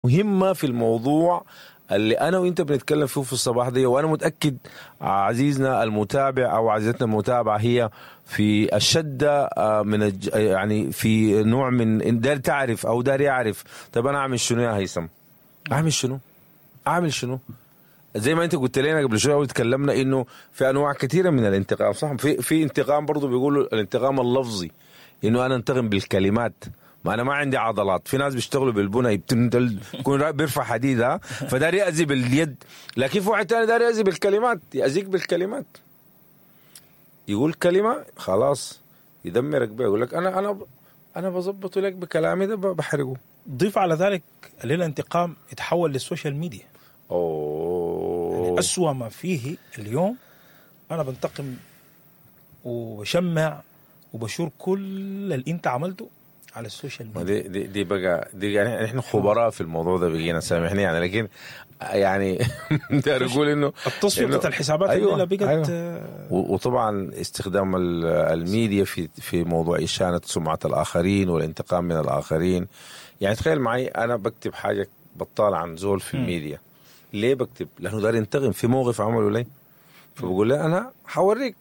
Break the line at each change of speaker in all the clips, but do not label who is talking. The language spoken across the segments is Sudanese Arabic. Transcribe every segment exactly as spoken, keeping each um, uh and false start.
مهمة في الموضوع اللي أنا وإنت بنتكلم فيه في الصباح دي، وأنا متأكد عزيزنا المتابع أو عزيزتنا المتابعة هي في الشدة من الج... يعني في نوع من دار تعرف أو دار يعرف، طب أنا أعمل شنو يا هيثم؟ أعمل شنو؟ أعمل شنو؟ زي ما انت قلت لنا قبل شوية وتكلمنا انه في انواع كثيرة من الانتقام، صح؟ في في انتقام برضه بيقولوا الانتقام اللفظي، انه انا انتقم بالكلمات، ما انا ما عندي عضلات. في ناس بيشتغلوا بالبنى يكون بيرفع حديد، فدار يأذي باليد، لكن في واحد ثاني دار يأذي بالكلمات، يأذيك بالكلمات، يقول كلمة خلاص يدمرك بها، يقول لك انا انا انا بظبطه لك بكلامي ده بحرقه.
ضيف على ذلك الانتقام يتحول لل social media.
أوه.
يعني أسوأ ما فيه اليوم أنا بنتقم وبشمع وبشور كل اللي أنت عملته على ال social media.
دي دي, دي بقى دي يعني نحن خبراء في الموضوع ده بقينا، سامحني يعني، لكن يعني داير اقول انه
التصفية بتاعت الحسابات.
أيوة،
اللي بقت.
أيوة. وطبعا استخدام الميديا في في موضوع إشانة سمعة الآخرين والانتقام من الآخرين. يعني تخيل معي أنا بكتب حاجة بطالة عن زول في الميديا، ليه بكتب؟ لأنه دار ينتقم في موقف عمله لي، فبقول له أنا حوريك،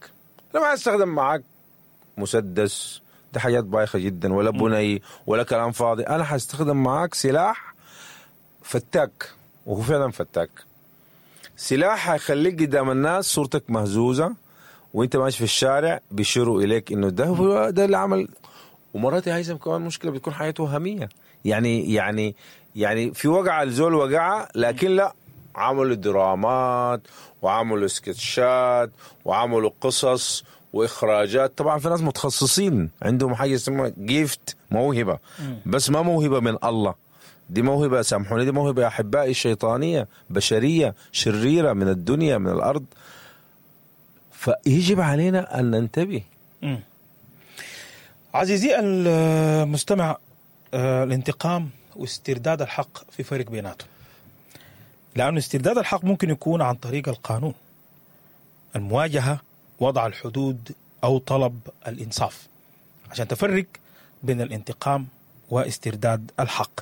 أنا ما أستخدم معك مسدس، ده حاجات بايخة جدا، ولا بني ولا كلام فاضي، أنا حستخدم معك سلاح فتاك، وهو فعلا فتاك، سلاح هيخليك قدام الناس صورتك مهزوزة، وانت ماشي في الشارع بيشيروا إليك إنه ده هو ده اللي عمل. ومرات يا هيثم كمان مشكلة بتكون حياته وهمية، يعني يعني يعني في وقعة الزول وقعة، لكن لا، عملوا درامات وعملوا سكتشات وعملوا قصص وإخراجات. طبعا في ناس متخصصين عندهم حاجة اسمها جيفت، موهبة، بس ما موهبة من الله، دي موهبة، سامحوني، دي موهبة يا أحبائي شيطانية، بشرية، شريرة، من الدنيا، من الأرض. فيجب علينا أن ننتبه.
مم. عزيزي المستمع، آه، الانتقام واسترداد الحق في فرق بيناتهم، لأن استرداد الحق ممكن يكون عن طريق القانون، المواجهة، وضع الحدود، أو طلب الإنصاف، عشان تفرق بين الانتقام واسترداد الحق.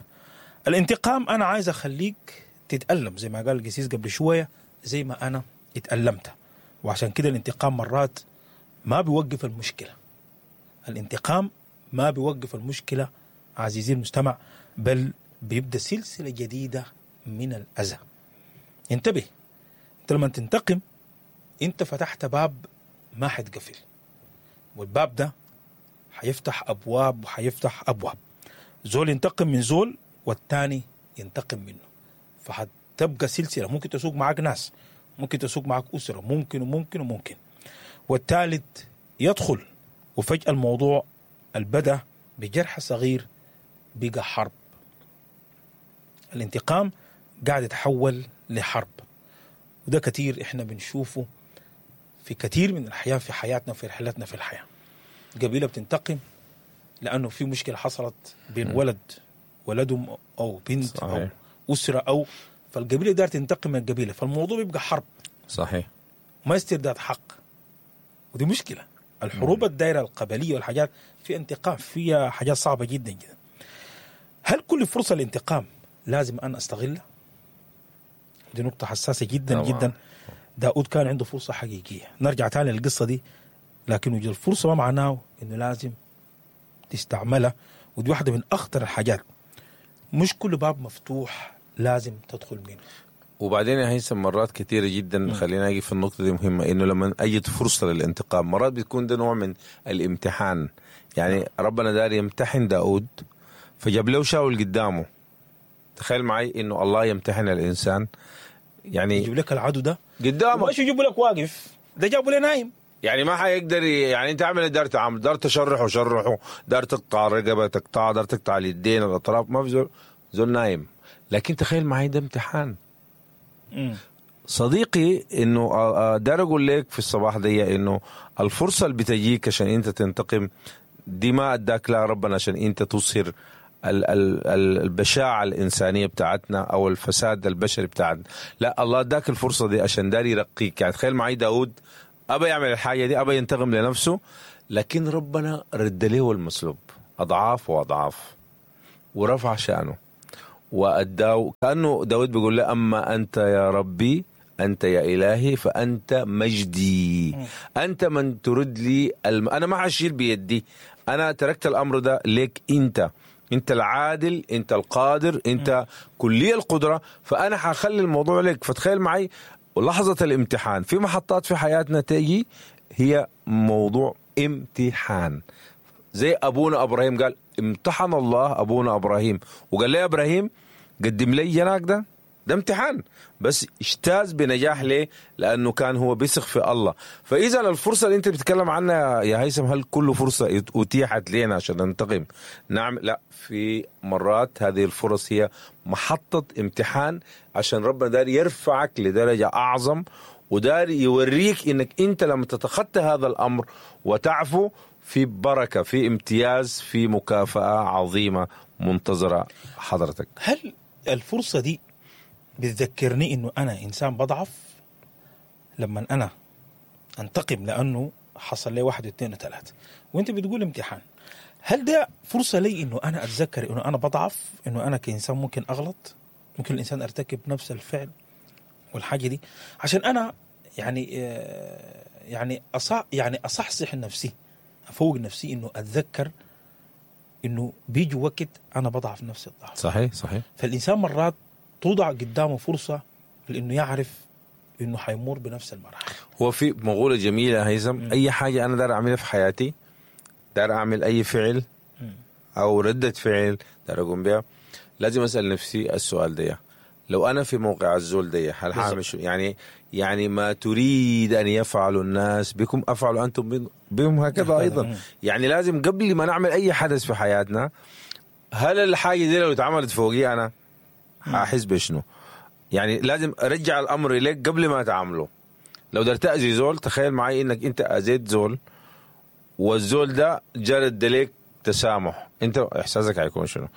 الانتقام أنا عايز أخليك تتألم زي ما قال القسيس قبل شوية، زي ما أنا اتألمت، وعشان كده الانتقام مرات ما بيوقف المشكلة. الانتقام ما بيوقف المشكلة عزيزي المستمع، بل بيبدأ سلسلة جديدة من الأذى. انتبه، انت لما تنتقم انت فتحت باب ما حتقفل، والباب ده حيفتح أبواب وحيفتح أبواب. زول ينتقم من زول والتاني ينتقم منه، فحتبقى سلسلة. ممكن تسوق معاك ناس، ممكن تسوق معاك أسرة، ممكن وممكن وممكن، والثالث يدخل، وفجأة الموضوع البدأ بجرح صغير بقى حرب. الانتقام قاعد يتحول لحرب، وده كتير احنا بنشوفه في كثير من الحياة، في حياتنا وفي رحلتنا في الحياة. قبيلة بتنتقم لأنه في مشكلة حصلت بين ولد ولدهم أو بنت.
صحيح.
أو أسرة، أو فالقبيلة دار تنتقم من القبيلة، فالموضوع بيبقى حرب.
صحيح،
ما استرداد حق، ودي مشكلة. الحروب الدائرة القبلية والحاجات في انتقام، فيها حاجات صعبة جدا جدا. هل كل فرصة للانتقام لازم أنا أستغلها؟ دي نقطة حساسة جدا.
طبعا.
جدا. داود كان عنده فرصة حقيقية، نرجع تاني للقصة دي، لكن وجود الفرصة ما معناه إنه لازم تستعملها، ودي واحدة من أخطر الحاجات. مش كل باب مفتوح لازم تدخل منه.
وبعدين يا هيثم مرات كثيرة جدا، خلينا أجي في النقطة دي مهمة، إنه لما أجد فرصة للانتقام مرات بتكون ده نوع من الامتحان. يعني ربنا دار يمتحن داود فجاب له شاول قدامه. تخيل معي إنه الله يمتحن الإنسان، يعني
يجيب لك العدو ده
قدامك،
مش يجيب لك واقف، ده جابه لي نايم.
يعني ما حيقدر، يعني انت عامل دار تعمل دار تشرحه شرحه، دار تقطع رقبة تقطع، دار تقطع اليدين الاطراف، ما في زول زول نايم. لكن تخيل معي ده امتحان.
مم.
صديقي، انه دار اقول لك في الصباح دي انه الفرصة اللي بتجيك عشان انت تنتقم دي ما اداك لا ربنا عشان انت تصهر البشاعة الإنسانية بتاعتنا أو الفساد البشري بتاعتنا. لا، الله اداك الفرصة دي عشان دار يرقيك. يعني تخيل معي داود أبى يعمل الحاجة دي، أبى ينتقم لنفسه، لكن ربنا رد له المسلوب أضعاف وأضعاف ورفع شأنه. وأداه، كأنه داود بيقول له أما أنت يا ربي، أنت يا إلهي، فأنت مجدي، أنت من ترد لي الم... أنا ما حشيل بيدي، أنا تركت الأمر ده لك أنت، أنت العادل، أنت القادر، أنت كلي القدرة، فأنا حخلي الموضوع لك. فتخيل معي لحظة الامتحان في محطات في حياتنا تيجي هي موضوع امتحان، زي أبونا إبراهيم قال امتحن الله أبونا إبراهيم وقال لي إبراهيم قدم لي جناك ده، ده امتحان بس اجتاز بنجاح. ليه؟ لأنه كان هو بيثق في الله. فإذا الفرصة اللي أنت بتتكلم عنها يا هيثم، هل كل فرصة أتيحت لنا عشان ننتقم؟ نعم، لا، في مرات هذه الفرص هي محطة امتحان عشان ربنا دار يرفعك لدرجة أعظم، ودار يوريك إنك أنت لما تتخطى هذا الأمر وتعفو في بركة، في امتياز، في مكافأة عظيمة منتظرة حضرتك.
هل الفرصة دي بتذكرني إنه أنا إنسان بضعف لما أنا أنتقم لأنه حصل لي واحد واثنين وثلاثة، وأنت بتقول امتحان، هل ده فرصة لي إنه أنا أتذكر إنه أنا بضعف، إنه أنا كإنسان ممكن أغلط، ممكن الإنسان أرتكب نفس الفعل والحاجة دي، عشان أنا يعني يعني أصح يعني أصحصح نفسي، أفوق نفسي إنه أتذكر إنه بيجي وقت أنا بضعف نفس الضعف.
صحيح صحيح.
فالإنسان مرات توضع قدامه فرصة لأنه يعرف إنه حيمر بنفس المراحل.
هو في مقولة جميلة هيثم، أي حاجة أنا دار أعملها في حياتي، دار أعمل أي فعل أو ردة فعل دار أقوم بها، لازم أسأل نفسي السؤال ده، لو أنا في موقع الزول ده هل هعمل شو؟ يعني يعني ما تريد أن يفعلوا الناس بكم أفعلوا أنتم بهم هكذا أيضا. يعني لازم قبل ما نعمل أي حدث في حياتنا، هل الحاجة دي لو اتعملت فوقي أنا هحس بشنو؟ يعني لازم أرجع الأمر إليك قبل ما تعمله. لو درت أذي زول، تخيل معي إنك أنت أذيت زول والزول ده جرد لك تسامح، أنت إحساسك هيكون شنو؟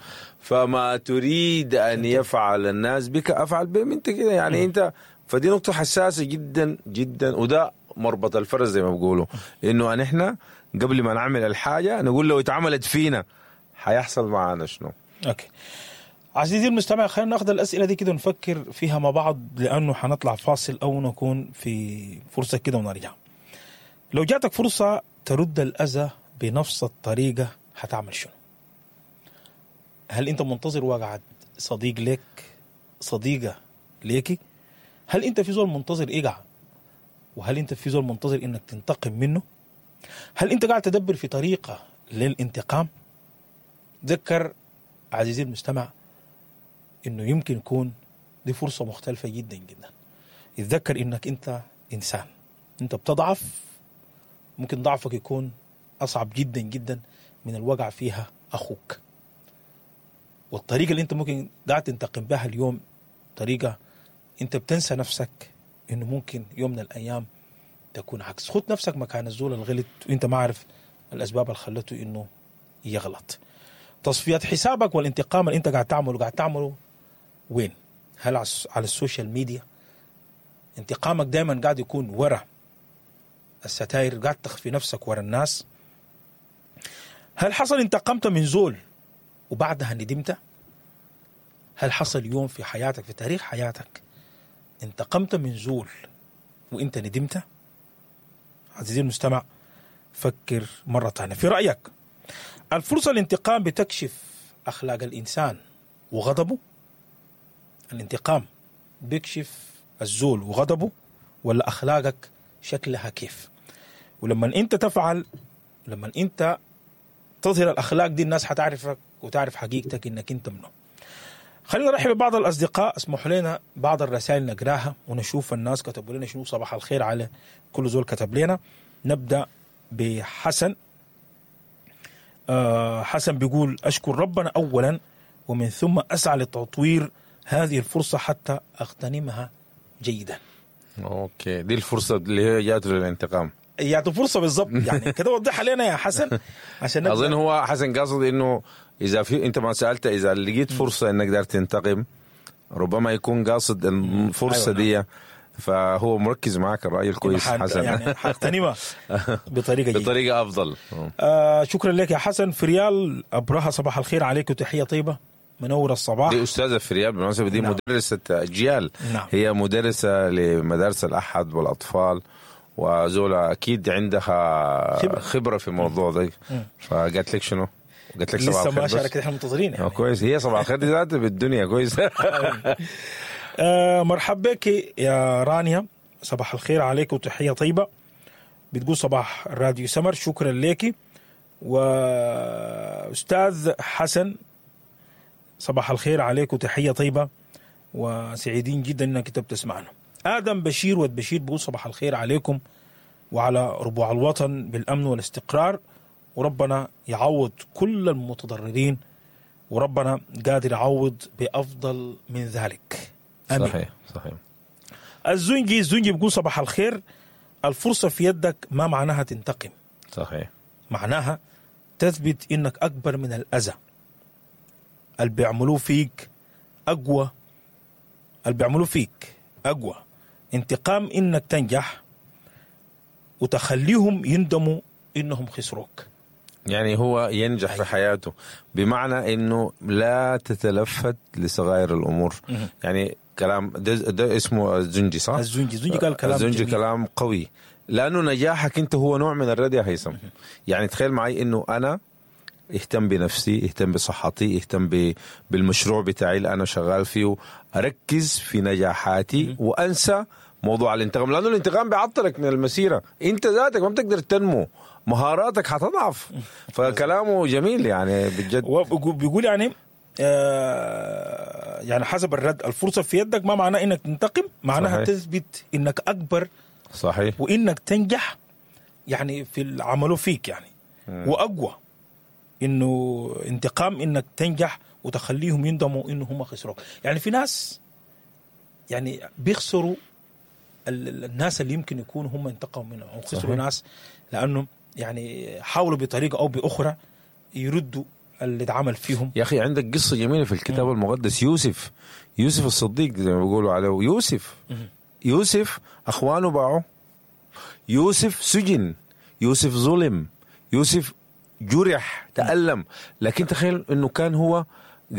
فما تريد أن يفعل الناس بك أفعل بهم أنت كده. يعني أنت فدي نقطة حساسة جدا جدا، وده مربط الفرس زي ما بيقولوا، إنه نحن قبل ما نعمل الحاجة نقول لو اتعملت فينا هيحصل معنا شنو.
أوكي عزيزي المستمع، خلينا ناخذ الأسئلة دي كده ونفكر فيها مع بعض، لأنه حنطلع فاصل أو نكون في فرصة كده ونرجع. لو جاتك فرصة ترد الأذى بنفس الطريقة هتعمل شنو؟ هل أنت منتظر وقعة صديق لك، صديقة ليكي؟ هل أنت في زول منتظر إيقع؟ وهل أنت في زول منتظر إنك تنتقم منه؟ هل أنت قاعد تدبر في طريقة للانتقام؟ ذكر عزيزي المستمع إنه يمكن يكون دي فرصة مختلفة جدا جدا. اتذكر إنك أنت إنسان، أنت بتضعف، ممكن ضعفك يكون أصعب جدا جدا من الوقع فيها أخوك. والطريقة اللي أنت ممكن قاعد تنتقم بها اليوم طريقة أنت بتنسى نفسك إنه ممكن يوم من الأيام تكون عكس. خد نفسك مكان الزول الغلط وأنت ما عارف الأسباب اللي خلته إنه يغلط. تصفية حسابك والانتقام اللي أنت قاعد تعمله، قاعد تعمله وين؟ هل على ال social media؟ انتقامك دايما قاعد يكون ورا الستاير، قاعد تخفي نفسك ورا الناس. هل حصل انتقمت من زول وبعدها ندمت؟ هل حصل يوم في حياتك، في تاريخ حياتك، انتقمت من زول وانت ندمت؟ عزيزي المستمع، فكر مرة ثانية. في رأيك الفرصة الانتقام بتكشف أخلاق الإنسان وغضبه؟ الانتقام بيكشف الزول وغضبه ولا أخلاقك شكلها كيف؟ ولما أنت تفعل، لما أنت تظهر الأخلاق دي، الناس حتعرفك وتعرف حقيقتك إنك أنت منه. خلينا نرحب ببعض الأصدقاء، اسمحوا لنا بعض الرسائل نقراها ونشوف الناس كتبوا لنا شنو. صباح الخير على كل زول كتب لنا. نبدأ بحسن. أه حسن بيقول أشكر ربنا أولا ومن ثم أسعى لتطوير هذه الفرصة حتى أغتنمها جيدا.
okay، دي الفرصة اللي هي جات للانتقام،
يعني فرصة بالضبط يعني كده. وضحها لنا يا حسن عشان
أظن هو حسن قاصد إنه إذا في، أنت ما سألت إذا لقيت فرصة إنك دار تنتقم، ربما يكون قاصد الفرصة. أيوة دي، فهو مركز معك الرأي الكويس حسن،
يعني حاغتنمها بطريقة جيدة،
بطريقة أفضل.
آه شكرا لك يا حسن. فريال أبرهة، صباح الخير عليك وتحية طيبة. منور الصباح.
دي استاذه فريال بالمناسبة، دي
نعم.
مدرسه اجيال.
نعم.
هي مدرسه لمدارس الاحد والاطفال، وزولا اكيد عندها
خبرة.
خبره في الموضوع ده. فقالت لك شنو؟ قالت لك صباح
لسه
الخير
ما
بس.
شاركت، احنا منتظرين
آه،
يعني.
كويس، هي صباح الخير دي ذاتها بالدنيا كويس.
آه مرحب بك يا رانيا، صباح الخير عليك وتحية طيبة. بتقول صباح راديو سمر، شكرا لك. وأستاذ حسن صباح الخير عليك وتحية طيبة، وسعيدين جدا انك انت بتسمعنا. آدم بشير ود بشير بيقول صباح الخير عليكم وعلى ربوع الوطن بالأمن والاستقرار، وربنا يعوض كل المتضررين، وربنا قادر يعوض بأفضل من ذلك. آمين.
صحيح صحيح.
الزنجي الزنجي بيقول صباح الخير، الفرصة في يدك ما معناها تنتقم،
صحيح،
معناها تثبت انك اكبر من الاذى اللي بيعملوه فيك، اقوى اللي بيعملوه فيك اقوى انتقام انك تنجح وتخليهم يندموا انهم خسروك.
يعني هو ينجح في حياته بمعنى انه لا تتلفت لصغائر الامور. يعني كلام ده, ده اسمه الزنجي صح؟
الزنجي الزنجي قال كلام
الزنجي
جميل.
كلام قوي، لانه نجاحك انت هو نوع من الرد يا هيثم. يعني تخيل معي انه انا اهتم بنفسي، اهتم بصحتي، اهتم ب- بالمشروع بتاعي اللي انا شغال فيه، اركز في نجاحاتي وانسى موضوع الانتقام، لانه الانتقام بيعطلك من المسيرة، انت ذاتك ما بتقدر تنمو، مهاراتك حتضعف. فكلامه جميل يعني بجد.
وبيقول يعني آه يعني حسب الرد، الفرصة في يدك ما معناه انك تنتقم، معناها
صحيح.
تثبت انك اكبر
صحيح،
وانك تنجح يعني في اللي عملوه فيك يعني، واقوى انه انتقام انك تنجح وتخليهم يندموا انه هم خسروك. يعني في ناس يعني بيخسروا ال- ال- الناس اللي يمكن يكونوا هم انتقموا منهم او خسروا
صحيح.
ناس، لانه يعني حاولوا بطريقة او باخرى يردوا اللي اتعمل فيهم.
يا اخي عندك قصة جميلة في الكتاب المقدس، يوسف، يوسف الصديق زي ما بيقولوا عليه، يوسف يوسف اخوانه باعوه، يوسف سجن، يوسف ظلم، يوسف جرح، تألم، لكن تخيل انه كان هو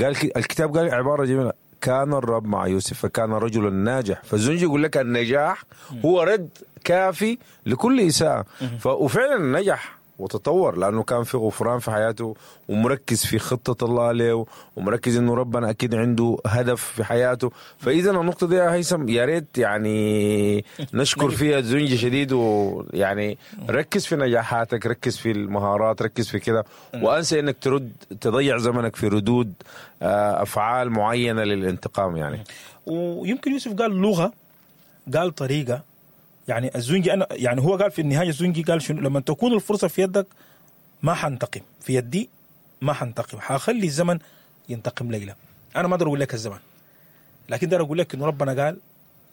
قال ك- الكتاب قال عبارة جميلة، كان الرب مع يوسف فكان رجلا ناجح. فالزنجي يقول لك النجاح هو رد كافي لكل إساءة. ف... وفعلا نجح وتطور، لأنه كان في غفران في حياته، ومركز في خطة الله له، ومركز إنه ربنا أكيد عنده هدف في حياته. فإذا النقطة دي يا هيثم يا ريت يعني نشكر فيها الزنجي شديد، ويعني ركز في نجاحاتك، ركز في المهارات، ركز في كده، وأنسى إنك ترد تضيع زمنك في ردود آه، أفعال معينة للانتقام يعني.
ويمكن يوسف قال لغة، قال طريقه، يعني الزنجي انا يعني هو قال في النهاية الزنجي قال شنو؟ لما تكون الفرصة في يدك ما حنتقم، في يدي ما حنتقم، حخلي الزمن ينتقم ليلى. انا ما اقدر اقول لك الزمن، لكن اقدر اقول لك انه ربنا قال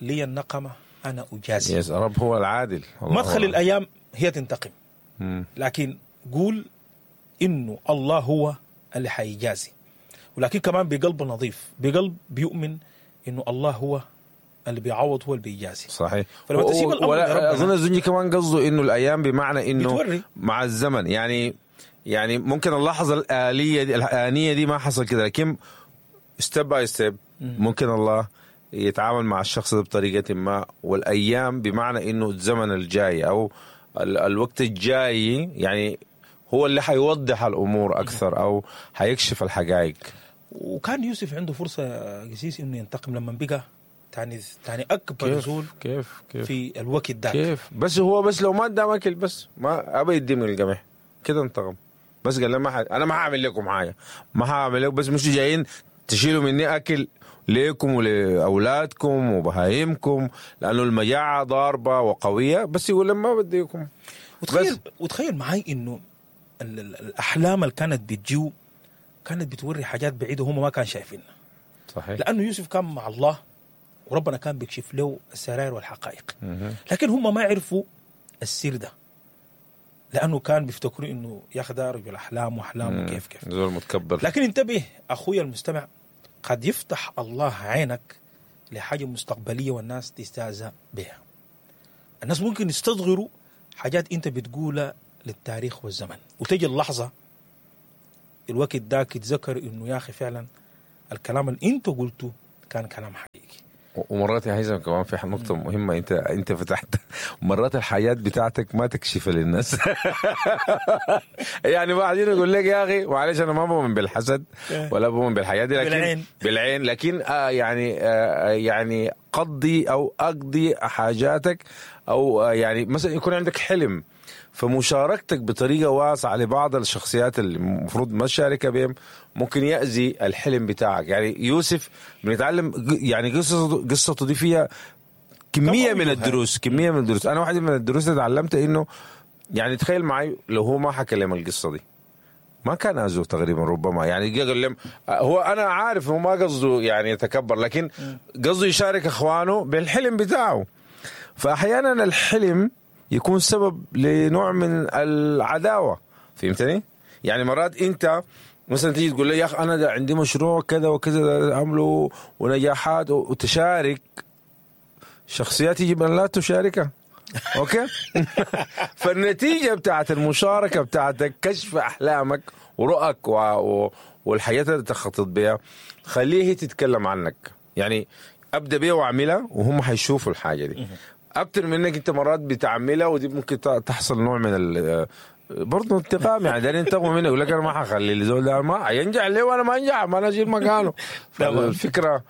لي النقمة انا اجازي.
يس رب هو العادل، الله
ما تخلي
هو.
الايام هي تنتقم،
مم.
لكن قول انه الله هو اللي حيجازي، ولكن كمان بقلب نظيف، بقلب بيؤمن انه الله هو اللي بيعوض، هو اللي بيجازي.
صحيح.
فلما تسيب الأمر
ولا
لربنا-
اظن الزنجي كمان قصده انه الايام بمعنى انه
بتوري.
مع الزمن، يعني يعني ممكن اللحظة الالية دي الانية دي ما حصل كده، لكن step by step ممكن الله يتعامل مع الشخص ده بطريقة ما، والايام بمعنى انه الزمن الجاي او ال الوقت الجاي يعني هو اللي حيوضح الامور اكثر او حيكشف الحقائق.
وكان يوسف عنده فرصة يا قسيس انه ينتقم لما بقى تاني تاني اكبر زول
كيف كيف
في الوقت ده.
كيف بس هو بس لو ما ادام اكل بس ما ابى يدي من القمح كده انتقم، بس قال له ما ح... انا ما هعمل لكم حاجة، ما هعمل لكم، بس مش جايين تشيلوا مني اكل ليكم ولاولادكم وبهايمكم، لانه المجاعة ضاربه وقويه، بس يقول لهم ما بديكم.
وتخيل
بس.
وتخيل معي انه ال- ال- الاحلام اللي كانت بتجيو كانت بتوري حاجات بعيدة هم ما كان شايفينها،
صحيح
لانه يوسف كان مع الله وربنا كان بيكشف له السرائر والحقائق، لكن هم ما عرفوا السر ده، لانه كان بيفتكروا انه يا اخي ده رجل احلام واحلام وكيف كيف.
زول متكبر.
لكن انتبه اخويا المستمع، قد يفتح الله عينك لحاجة مستقبلية والناس تستهزأ بها. الناس ممكن يستصغروا حاجات انت بتقولها للتاريخ والزمن، وتجي اللحظة الوقت داك يتذكر انه يا اخي فعلا الكلام اللي انت قلته كان كلام حقيقي.
ومرات يا هيثم كمان في نقطة مهمة انت انت فتحت، مرات الحياة بتاعتك ما تكشفها للناس. يعني بعدين يقول لك يا اخي معلش انا ما بؤمن بالحسد ولا بؤمن بالحياة دي، لكن
بالعين.
بالعين، لكن آه يعني آه يعني قضي او اقضي حاجاتك، او آه يعني مثلا يكون عندك حلم، فمشاركتك بطريقة واسعة لبعض الشخصيات اللي المفروض ما تشاركها بهم ممكن يأذي الحلم بتاعك. يعني يوسف بنتعلم يعني قصته قصته دي فيها كمية من الدروس، كمية من الدروس. أنا واحدة من الدروس اللي تعلمتها إنه يعني تخيل معي لو هو ما حكى لهم القصة دي ما كان أذوه تقريبا، ربما يعني قال لهم هو أنا عارف هو ما قصده يعني يتكبر، لكن قصده يشارك إخوانه بالحلم بتاعه. فأحيانا الحلم يكون سبب لنوع من العداوة، فهمتني؟ يعني مرات أنت مثلا تيجي تقول لي يا أخي أنا ده عندي مشروع كذا وكذا عمله ونجاحات، وتشارك شخصيات يجب أن لا تشاركها، okay؟ فالنتيجة بتاعت المشاركة بتاعتك كشف أحلامك ورؤك و... و... والحياة اللي تخطط بها، خليه تتكلم عنك. يعني أبدأ بيها وأعملها وهم حيشوفوا الحاجة دي أكتر من انك انت مرات بتعملها، ودي ممكن تحصل نوع من ال برضه انتقام. يعني ده ينتقموا منك، يقول لك انا ما حخلي الزول ده ما ينجح ليه وانا ما انجح، ما انا اشيل مكانه. فالفكرة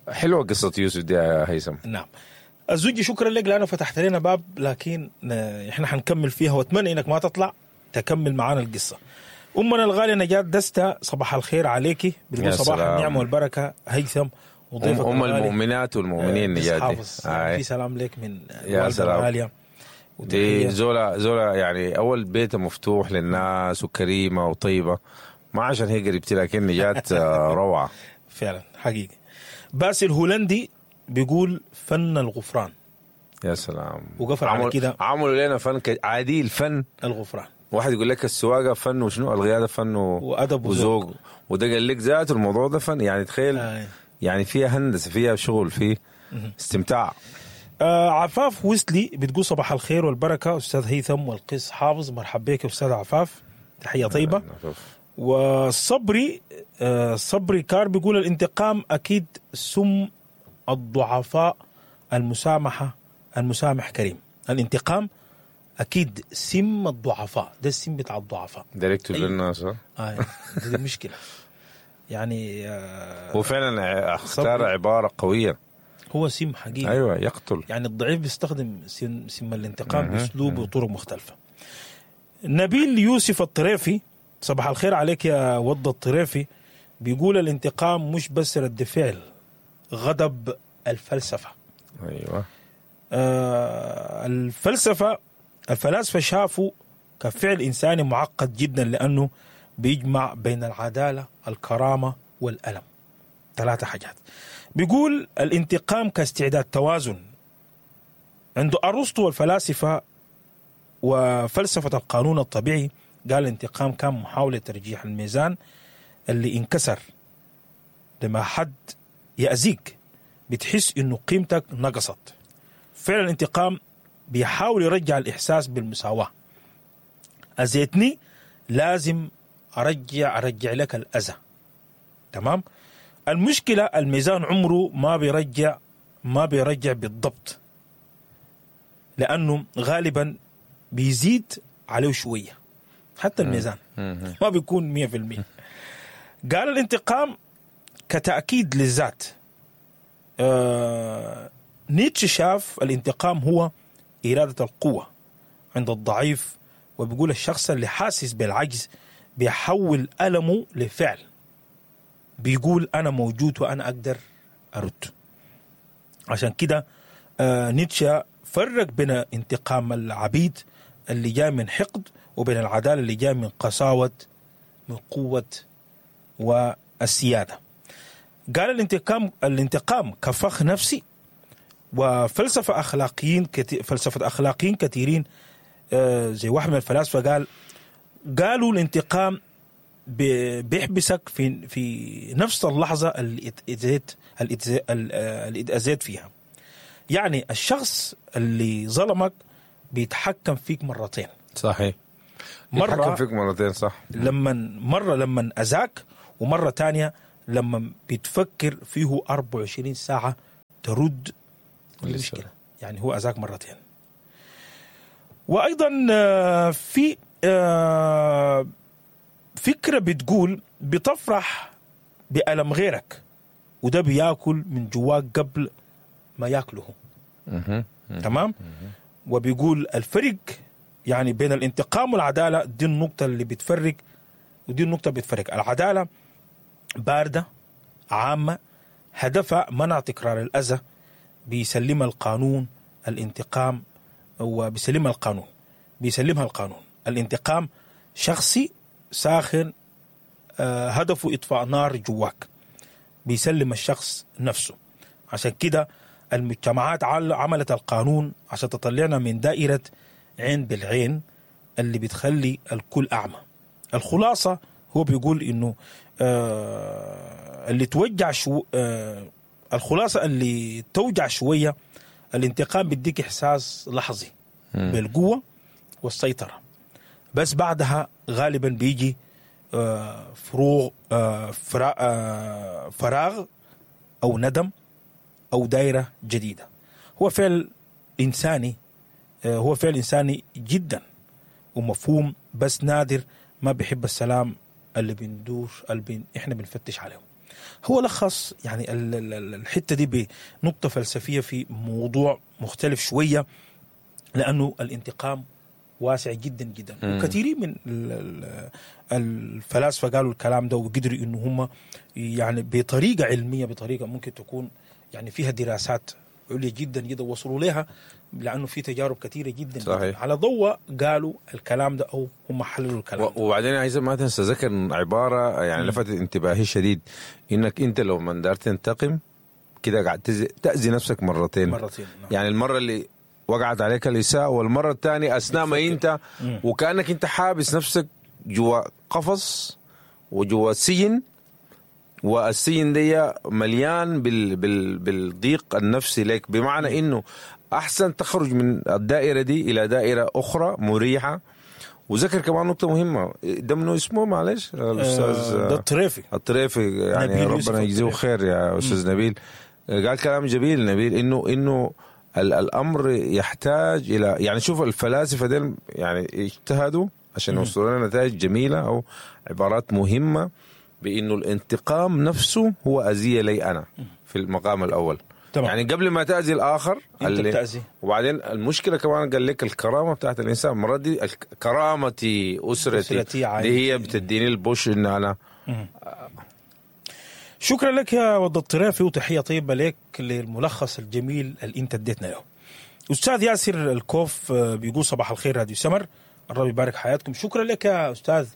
حلوة قصة يوسف دي يا هيثم.
نعم الزوجي، شكرا لك لانه فتحت لنا باب، لكن احنا حنكمل فيها، واتمنى انك ما تطلع تكمل معانا القصة. امنا الغالية نجاة دسته، صباح الخير عليكي، بتقول صباح النعمة والبركة هيثم
وضيفك أم المؤمنات والمؤمنين نجاتي.
آه. في سلام لك من الوالدة الغالية.
دي زولا زولا يعني أول بيت مفتوح للناس وكريمة وطيبة، ما عشان هي قريبتي لكن نجات روعة
فعلا حقيقي. باسل هولندي بيقول فن الغفران.
يا سلام،
وقفل على كده.
عملوا لنا فن عادي، الفن
الغفران.
واحد يقول لك السواقة فن وشنو، القيادة فن و...
وأدب
وذوق، وده قال لك ذاته الموضوع ده فن. يعني تخيل آه. يعني فيها هندسة، فيها شغل، فيه استمتاع.
آه عفاف ويسلي بتقول صباح الخير والبركة أستاذ هيثم والقس حافظ، مرحب بك أستاذ عفاف، تحية طيبة. وصبري آه صبري كار بيقول الانتقام أكيد سم الضعفاء، المسامحة المسامح كريم. الانتقام أكيد سم الضعفاء، ده السم بتاع الضعفاء
ده يقتل الناس.
آه دي مشكلة يعني.
هو فعلا اختار عبارة قوية،
هو سم حقيقي.
أيوة يقتل،
يعني الضعيف بيستخدم سم, سم الانتقام بأسلوب وطرق مختلفة. نبيل يوسف الطريفي، صباح الخير عليك يا ود الطريفي، بيقول الانتقام مش بس رد فعل، غضب الفلسفة.
أيوة
آه الفلسفة الفلاسفة شافوا كفعل إنساني معقد جدا، لأنه بيجمع بين العدالة الكرامة والألم، ثلاثة حاجات. بيقول الانتقام كاستعداد توازن عند أرسطو والفلاسفة وفلسفة القانون الطبيعي. قال الانتقام كان محاولة ترجيح الميزان اللي انكسر. لما حد يأذيك بتحس إنه قيمتك نقصت. فعل الانتقام بيحاول يرجع الإحساس بالمساواة. أذيتني لازم أرجع أرجع لك الأذى. تمام. المشكلة الميزان عمره ما بيرجع ما بيرجع بالضبط، لأنه غالبا بيزيد عليه شوية. حتى الميزان ما بيكون مية في المية. قال الانتقام كتأكيد للذات. آه نيتشه شاف الانتقام هو إرادة القوة عند الضعيف، وبيقول الشخص اللي حاسس بالعجز بيحول ألمه لفعل، بيقول أنا موجود وأنا أقدر أرد. عشان كده آه نيتشه فرق بين انتقام العبيد اللي جاي من حقد وبين العدالة اللي جاي من قساوة من قوة والسيادة. قال الانتقام الانتقام كفخ نفسي. وفلسفة أخلاقيين كتير فلسفة أخلاقيين كثيرين آه زي واحد من الفلاسفة قال قالوا الانتقام بيحبسك في في نفس اللحظة اللي اتأذيت اللي اتأذيت فيها. يعني الشخص اللي ظلمك بيتحكم فيك مرتين.
صحيح. مرة بيتحكم فيك مرتين صح.
لما مرة لما أذاك، ومرة تانية لما بتفكر فيه أربعة وعشرين ساعة ترد المشكلة، يعني هو أذاك مرتين. وأيضا في فكرة بتقول بتفرح بألم غيرك، وده بياكل من جواك قبل ما ياكله. تمام؟ وبيقول الفرق يعني بين الانتقام والعدالة، دي النقطة اللي بتفرق، ودي النقطة بتفرق. العدالة باردة عامة، هدفها منع تكرار الأذى، بيسلمها القانون. الانتقام وبيسلمها القانون بيسلمها القانون. الانتقام شخصي ساخن، آه هدفه إطفاء نار جواك، بيسلم الشخص نفسه. عشان كده المجتمعات عملت القانون عشان تطلعنا من دائرة عين بالعين اللي بتخلي الكل أعمى. الخلاصة هو بيقول إنه آه اللي توجع شو آه الخلاصة اللي توجع شوية، الانتقام بيديك إحساس لحظي بالقوة والسيطرة، بس بعدها غالبا بيجي آه فروغ آه آه فراغ أو ندم أو دائرة جديدة. هو فعل إنساني، آه هو فعل إنساني جدا ومفهوم، بس نادر ما بيحب السلام اللي بندور اللي بن إحنا بنفتش عليه. هو لخص يعني الحتة دي بنقطة فلسفية في موضوع مختلف شوية، لأنه الانتقام واسع جدا جدا، وكثيرين من الفلاسفة قالوا الكلام ده، وقدروا إنه هم يعني بطريقة علمية، بطريقة ممكن تكون يعني فيها دراسات عليا جدا جدا وصلوا لها، لأنه في تجارب كثيرة جدا، جداً على ضوء قالوا الكلام ده أو هم حللوا الكلام ده.
وبعدين عايز ما تنسى ذكر عبارة يعني لفتت انتباهي شديد، إنك أنت لو من دار تنتقم كده قاعد تأذي نفسك مرتين
مرتين نعم.
يعني المرة اللي وقعت عليك الإساءة، والمرة الثانية أثناء ما أنت وكأنك أنت حابس نفسك جوا قفص وجوا سجن، والسجن دي مليان بال بال بالضيق النفسي لك، بمعنى إنه أحسن تخرج من الدائرة دي إلى دائرة أخرى مريحة. وذكر كمان نقطة مهمة، ده منو اسمه معلش الأستاذ
ده الطريفي
الطريفي يعني ربنا يجزيه خير يا أستاذ نبيل، قال كلام جميل نبيل، إنه إنه الأمر يحتاج إلى يعني شوف الفلاسفة دول يعني اجتهدوا عشان يوصلوا لنا نتائج جميلة أو عبارات مهمة، بأنه الانتقام نفسه هو أذية لي أنا في المقام الأول. طبعا. يعني قبل ما تأذي الآخر
أنت بتأذي.
وبعدين المشكلة كمان قال لك الكرامة بتاعت الإنسان، مرة دي كرامتي أسرتي, أسرتي دي هي بتديني البوش إن أنا
مم. شكرا لك يا ود الطرافي، وتحية طيبة لك للملخص الجميل اللي انت اديتنا له. أستاذ ياسر الكوف بيقول صباح الخير راديو سمر، الرب يبارك حياتكم. شكرا لك يا أستاذ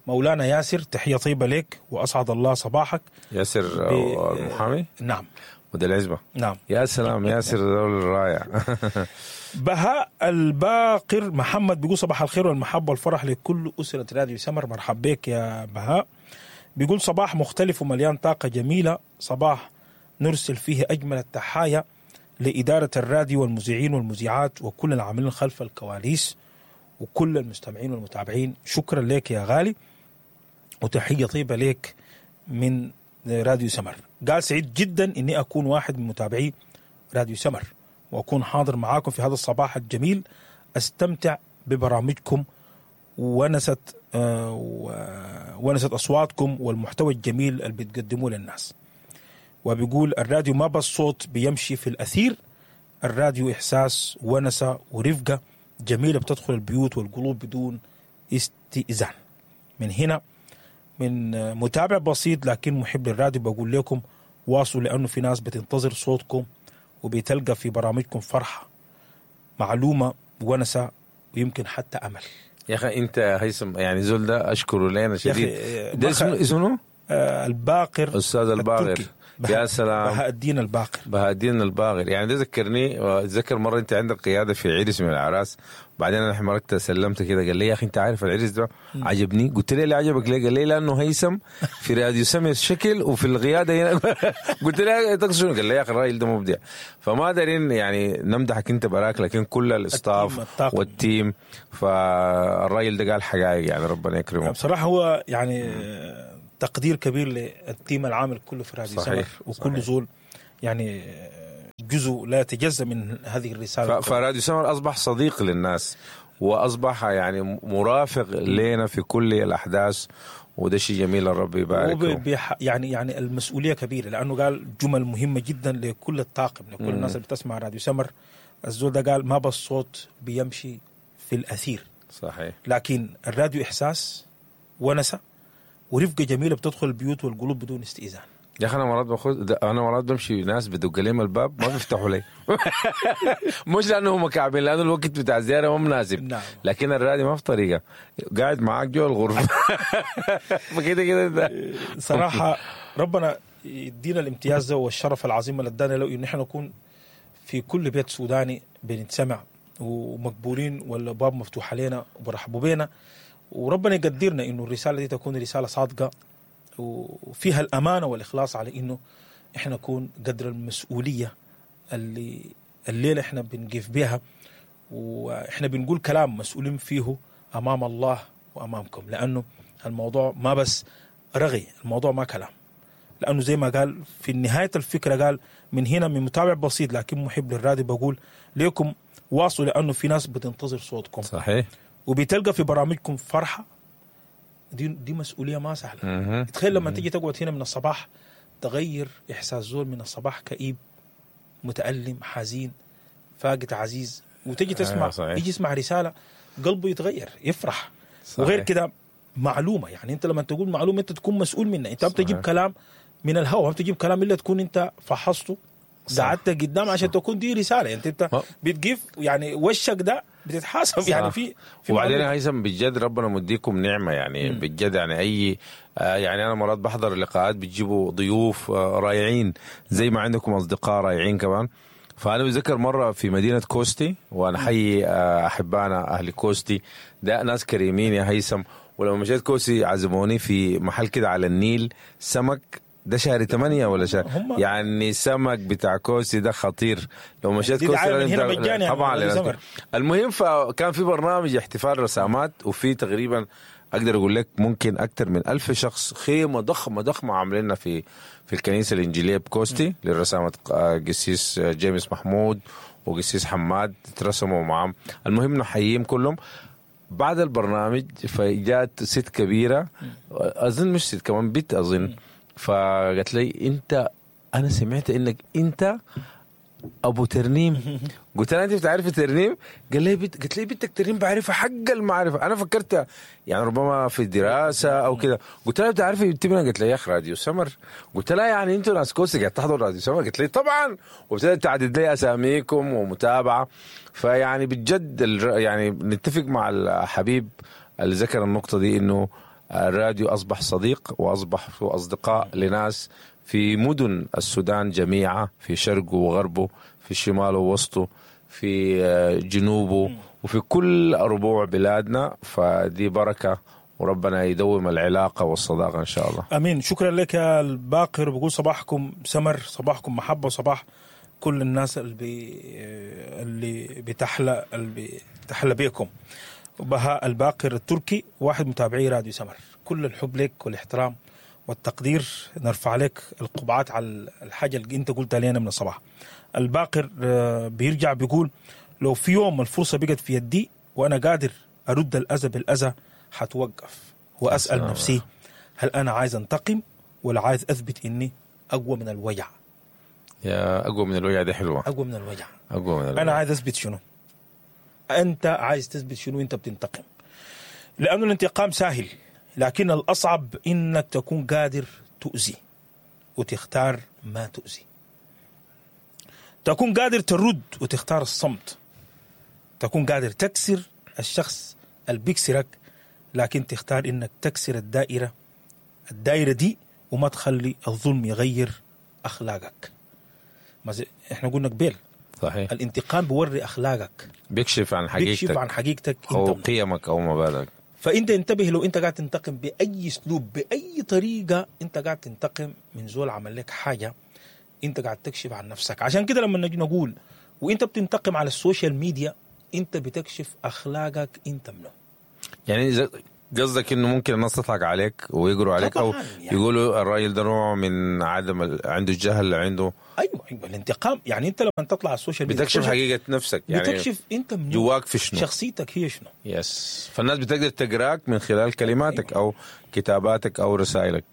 مولانا ياسر، تحية طيبة لك وأسعد الله صباحك.
ياسر ب... المحامي؟
نعم.
وده العزبة.
نعم.
يا سلام ياسر دول الرائع.
بهاء الباقر محمد بيقول صباح الخير والمحبة والفرح لكل أسرة راديو سمر. مرحب بك يا بهاء. بيقول صباح مختلف ومليان طاقة جميلة، صباح نرسل فيه أجمل التحايا لإدارة الراديو والمذيعين والمذيعات وكل العاملين خلف الكواليس وكل المستمعين والمتابعين. شكرا لك يا غالي وتحية طيبة لك من راديو سمر. قال سعيد جدا إني أكون واحد من متابعي راديو سمر وأكون حاضر معاكم في هذا الصباح الجميل، أستمتع ببرامجكم ونست آه ونست أصواتكم والمحتوى الجميل اللي بتقدموه للناس. وبيقول الراديو ما بس صوت بيمشي في الأثير، الراديو إحساس ونسة ورفقة جميلة بتدخل البيوت والقلوب بدون استئذان. من هنا من متابع بسيط لكن محب للراديو بقول لكم واصلوا، لأنه في ناس بتنتظر صوتكم وبتلقى في برامجكم فرحة، معلومة، ونسة، ويمكن حتى أمل.
يا أخي أنت هيثم يعني زول ده أشكره لنا شديد. ده اسمه اسمه
آه الباقر،
أستاذ الباقر. يا سلام،
بهاء الدين الباقر.
بهاء الدين الباقر يعني ده ذكرني، اتذكر مرة أنت عندك قيادة في عرس من الأعراس، بعدين أنا حمركت سلمت كده، قال لي يا أخي أنت عارف العرس ده عجبني. قلت له ليه عجبك ليه؟ قال لي لأنه هيثم في راديو سمع الشكل وفي القيادة هنا. قلت له تقصد؟ قال لي يا أخي الراجل ده مبدع. فما دارين يعني نمدحك أنت براك، لكن كل ال staff وال team، فالراجل ده قال حقائق يعني ربنا يكرمه.
بصراحة هو يعني تقدير كبير لل team العامل كله في راديو سمر، وكل زول يعني جزء لا يتجزأ من هذه الرسالة.
فراديو سمر أصبح صديق للناس، وأصبح يعني مرافق لنا في كل الأحداث، وده شيء جميل، الرب يبارك.
يعني يعني المسؤولية كبيرة، لأنه قال جمل مهمة جدا لكل الطاقم، لكل الناس اللي بتسمع راديو سمر. الزول ده قال ما بس صوت بيمشي في الأثير،
صحيح،
لكن الراديو إحساس ونسة ورفقة جميلة بتدخل البيوت والقلوب بدون استئذان.
يا اخي انا مرات باخذ انا مرات بمشي ناس بدق لهم الباب ما بيفتحوا لي مش لانه هم كعبين، لانه الوقت بتاع الزيارة ما مناسب. نعم. لكن الراديو ما في طريقه، قاعد معاك جوا الغرفة فكده كده
صراحة ربنا يدينا الامتياز ده والشرف العظيم اللي ادانا له، ان احنا نكون في كل بيت سوداني بنتسمع ومقبولين، والباب مفتوح علينا وبرحبوا بينا، وربنا يقدرنا انه الرسالة دي تكون رسالة صادقة وفيها الأمانة والإخلاص، على إنه إحنا نكون قدر المسؤولية اللي الليلة إحنا بنقف بها، وإحنا بنقول كلام مسؤولين فيه أمام الله وأمامكم، لأنه الموضوع ما بس رغي، الموضوع ما كلام. لأنه زي ما قال في نهاية الفكرة، قال من هنا من متابع بسيط لكن محب للراديو بقول ليكم واصلوا، لأنه في ناس بتنتظر صوتكم،
صحيح،
وبتلقى في برامجكم فرحة. دي دي مسؤولية ما سهلة. تخيل لما تيجي تقعد هنا من الصباح تغير احساس زول من الصباح كئيب متألم حزين فاقد عزيز، وتجي تسمع آه يجي يسمع رسالة قلبه يتغير يفرح. صحيح. وغير كده معلومة، يعني انت لما تقول معلومة انت تكون مسؤول منها، انت بتجيب كلام من الهواء، ما بتجيب كلام الا تكون انت فحصته، قعدت قدام عشان تكون دي رسالة. انت انت بتجيب يعني وشك ده بتتحاسب. صح. يعني في,
في وبعدين هيثم بجد ربنا مديكم نعمه يعني مم. بجد يعني اي آه يعني انا مرات بحضر لقاءات بتجيبوا ضيوف آه رائعين، زي ما عندكم اصدقاء رائعين كمان. فانا بتذكر مرة في مدينة كوستي، وانا حي آه احبانا اهل كوستي، ده ناس كريمين يا هيثم. ولما مشيت كوستي عزموني في محل كده على النيل، سمك ده شهر ثمانية ولا شهر يعني، سمك بتاع كوسي ده خطير. لو مشيت كوسي
هنا
طبعا يعني. المهم فكان في برنامج احتفال رسامات، وفي تقريبا اقدر اقول لك ممكن اكثر من ألف شخص، خيمة ضخمة ضخمة عاملينها في في الكنيسة الانجيلية بكوستي للرسامة قسيس جيمس محمود وقسيس حماد، ترسموا معهم. المهم نحييهم كلهم. بعد البرنامج فجات ست كبيرة، اظن مش ست كمان بنت اظن، فقالت لي انت انا سمعت انك انت ابو ترنيم. قلت لها انت بتعرفي ترنيم؟ قال لي بت... قلت لي بنتك ترنيم بعرفها حق المعرفة. انا فكرت يعني ربما في الدراسة او كده. قلت لها بتعرفي بنتي؟ قالت لي يا اخي راديو سمر. قلت لها يعني انتوا ناس كوسي قاعد تحضروا راديو سمر؟ قالت لي طبعا، وابتدت تعدد لي اساميكم ومتابعة. فيعني بجد يعني نتفق مع الحبيب اللي ذكر النقطة دي، انه الراديو أصبح صديق وأصبح أصدقاء لناس في مدن السودان جميعا، في شرقه وغربه، في شماله ووسطه، في جنوبه، وفي كل ربوع بلادنا. فدي بركة، وربنا يدوم العلاقة والصداقة إن شاء الله.
أمين. شكرا لك يا الباقر. بقول صباحكم سمر، صباحكم محبة، وصباح كل الناس اللي بي اللي بتحلى اللي بتحلى بيكم. بهاء الباقر التركي واحد متابعي راديو سمر، كل الحب لك والاحترام والتقدير، نرفع لك القبعات على الحاجة اللي انت قلتها لنا من الصباح. الباقر بيرجع بيقول لو في يوم الفرصة بقت في يدي وأنا قادر أرد الأذى بالأذى حتوقف وأسأل نفسي هل أنا عايز أنتقم ولا عايز أثبت إني أقوى من الوجع.
يا أقوى من الوجع دي حلوة.
أقوى من الوجع.
أقوى من الوجع.
أنا عايز أثبت شنو؟ أنت عايز تثبت شنو؟ أنت بتنتقم، لأنه الانتقام سهل، لكن الأصعب إنك تكون قادر تؤذي وتختار ما تؤذي، تكون قادر ترد وتختار الصمت، تكون قادر تكسر الشخص اللي بيكسرك، لكن تختار إنك تكسر الدائرة الدائرة دي وما تخلي الظلم يغير أخلاقك. ما زي إحنا قلنا قبل،
صحيح،
الانتقام بوري أخلاقك،
بيكشف عن حقيقتك،
بيكشف عن حقيقتك
أو قيمك أو مبادئك.
فأنت انتبه لو أنت قاعد تنتقم بأي أسلوب بأي طريقة، أنت قاعد تنتقم من زول عمل لك حاجة، أنت قاعد تكشف عن نفسك. عشان كده لما نجي نقول وأنت بتنتقم على ال social media، أنت بتكشف أخلاقك أنت منه.
يعني إذا قصدك انه ممكن الناس تضحك عليك ويقروا عليك او
طبعاً يعني.
يقولوا الراجل ده نوع من عدم ال... عنده الجهل، عنده
ايوه ايوه الانتقام. يعني انت لما تطلع على ال social media
بتكشف حقيقة نفسك، يعني
بتكشف انت منو،
جواك في شنو،
شخصيتك هي شنو.
yes، فالناس بتقدر تقراك من خلال كلماتك او كتاباتك او رسائلك.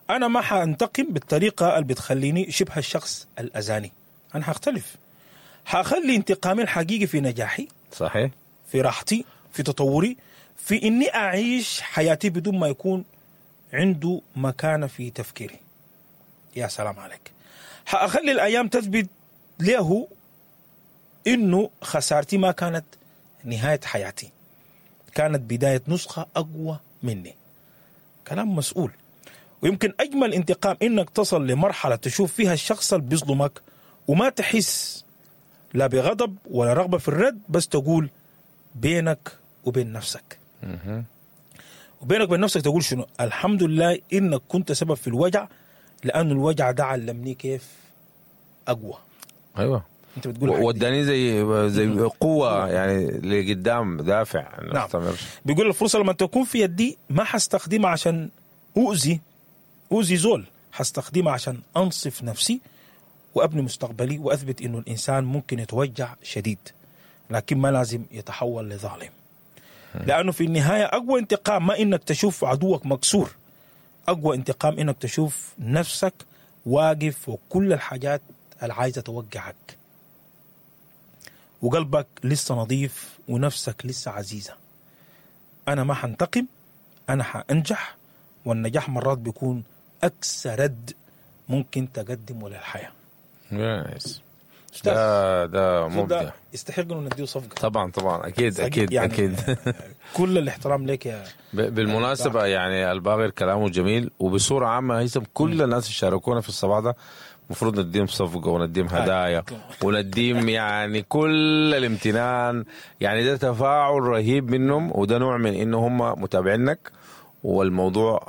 انا ما حانتقم بالطريقة اللي بتخليني شبه الشخص الاذاني، انا حختلف، حخلي انتقامي الحقيقي في نجاحي،
صحيح،
في راحتي، في تطوري، في اني اعيش حياتي بدون ما يكون عنده مكانه في تفكيري. يا سلام عليك. حاخلي الايام تثبت له انه خسارتي ما كانت نهاية حياتي، كانت بداية نسخه اقوى مني. كلام مسؤول. ويمكن اجمل انتقام انك تصل لمرحلة تشوف فيها الشخص اللي بيظلمك وما تحس لا بغضب ولا رغبة في الرد، بس تقول بينك وبين نفسك، وبينك وبين نفسك تقول شنو؟ الحمد لله انك كنت سبب في الوجع، لأن الوجع ده علمني كيف اقوى.
ايوه،
انت بتقول
وداني زي زي قوة يعني لقدام، دافع.
نعم. بيقول الفرصة لما تكون في يدي ما حستخدمها عشان اؤذي اؤذي زول، حستخدمها عشان انصف نفسي وابني مستقبلي واثبت انه الانسان ممكن يتوجع شديد لكن ما لازم يتحول لظالم. لانه في النهاية اقوى انتقام ما انك تشوف عدوك مكسور، اقوى انتقام انك تشوف نفسك واقف وكل الحاجات اللي عايزه توقعك وقلبك لسه نظيف ونفسك لسه عزيزه. انا ما حنتقم، انا حانجح، والنجاح مرات بيكون اقسى رد ممكن تقدمه للحياة.
نايس. ده ده مبدع،
يستحق انه نديه صفقة.
طبعا طبعا، اكيد اكيد يعني اكيد.
كل الاحترام لك يا
بالمناسبة. يعني الباغر كلامه جميل، وبصورة عامة هيثم كل الناس اللي شاركونا في الصباح ده المفروض نديهم صفقة ونديهم هدايا ونديهم يعني كل الامتنان. يعني ده تفاعل رهيب منهم، وده نوع من انه هم متابعينك، والموضوع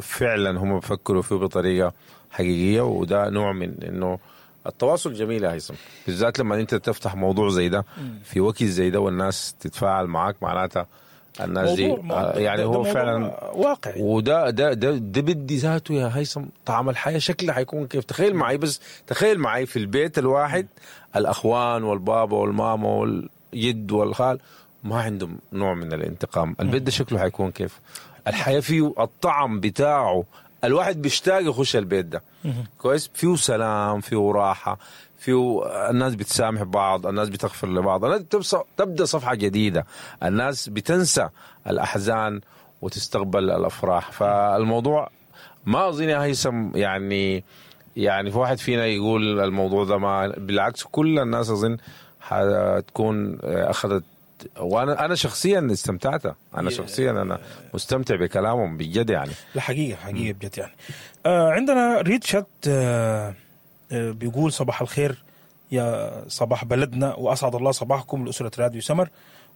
فعلا هم بيفكروا فيه بطريقة حقيقية، وده نوع من انه التواصل جميل يا هيثم، بالذات لما انت تفتح موضوع زي ده في وقت زي ده والناس تتفاعل معاك، معناتها الناس دي يعني هو فعلا
واقع.
وده ده ده, ده بدي ذاته يا هيثم طعم الحياة شكله حيكون كيف. تخيل معي، بس تخيل معي في البيت الواحد الاخوان والبابا والماما والجد والخال ما عندهم نوع من الانتقام، البيت ده شكله حيكون كيف؟ الحياة فيه الطعم بتاعه، الواحد بيشتاق يخش البيت ده. كويس، فيه سلام، فيه راحة، فيه الناس بتسامح بعض، الناس بتغفر لبعض، الناس تبدأ صفحة جديدة، الناس بتنسى الأحزان وتستقبل الأفراح. فالموضوع ما أظن يا هيثم يعني يعني في واحد فينا يقول الموضوع ده ما، بالعكس كل الناس أظن حتكون أخذت. وانا انا شخصيا استمتعت، انا شخصيا انا مستمتع بكلامهم بجد يعني.
لا حقيقة حقيقة بجد يعني. آه عندنا ريتشارد آه آه بيقول صباح الخير يا صباح بلدنا، واسعد الله صباحكم لاسرة راديو سمر،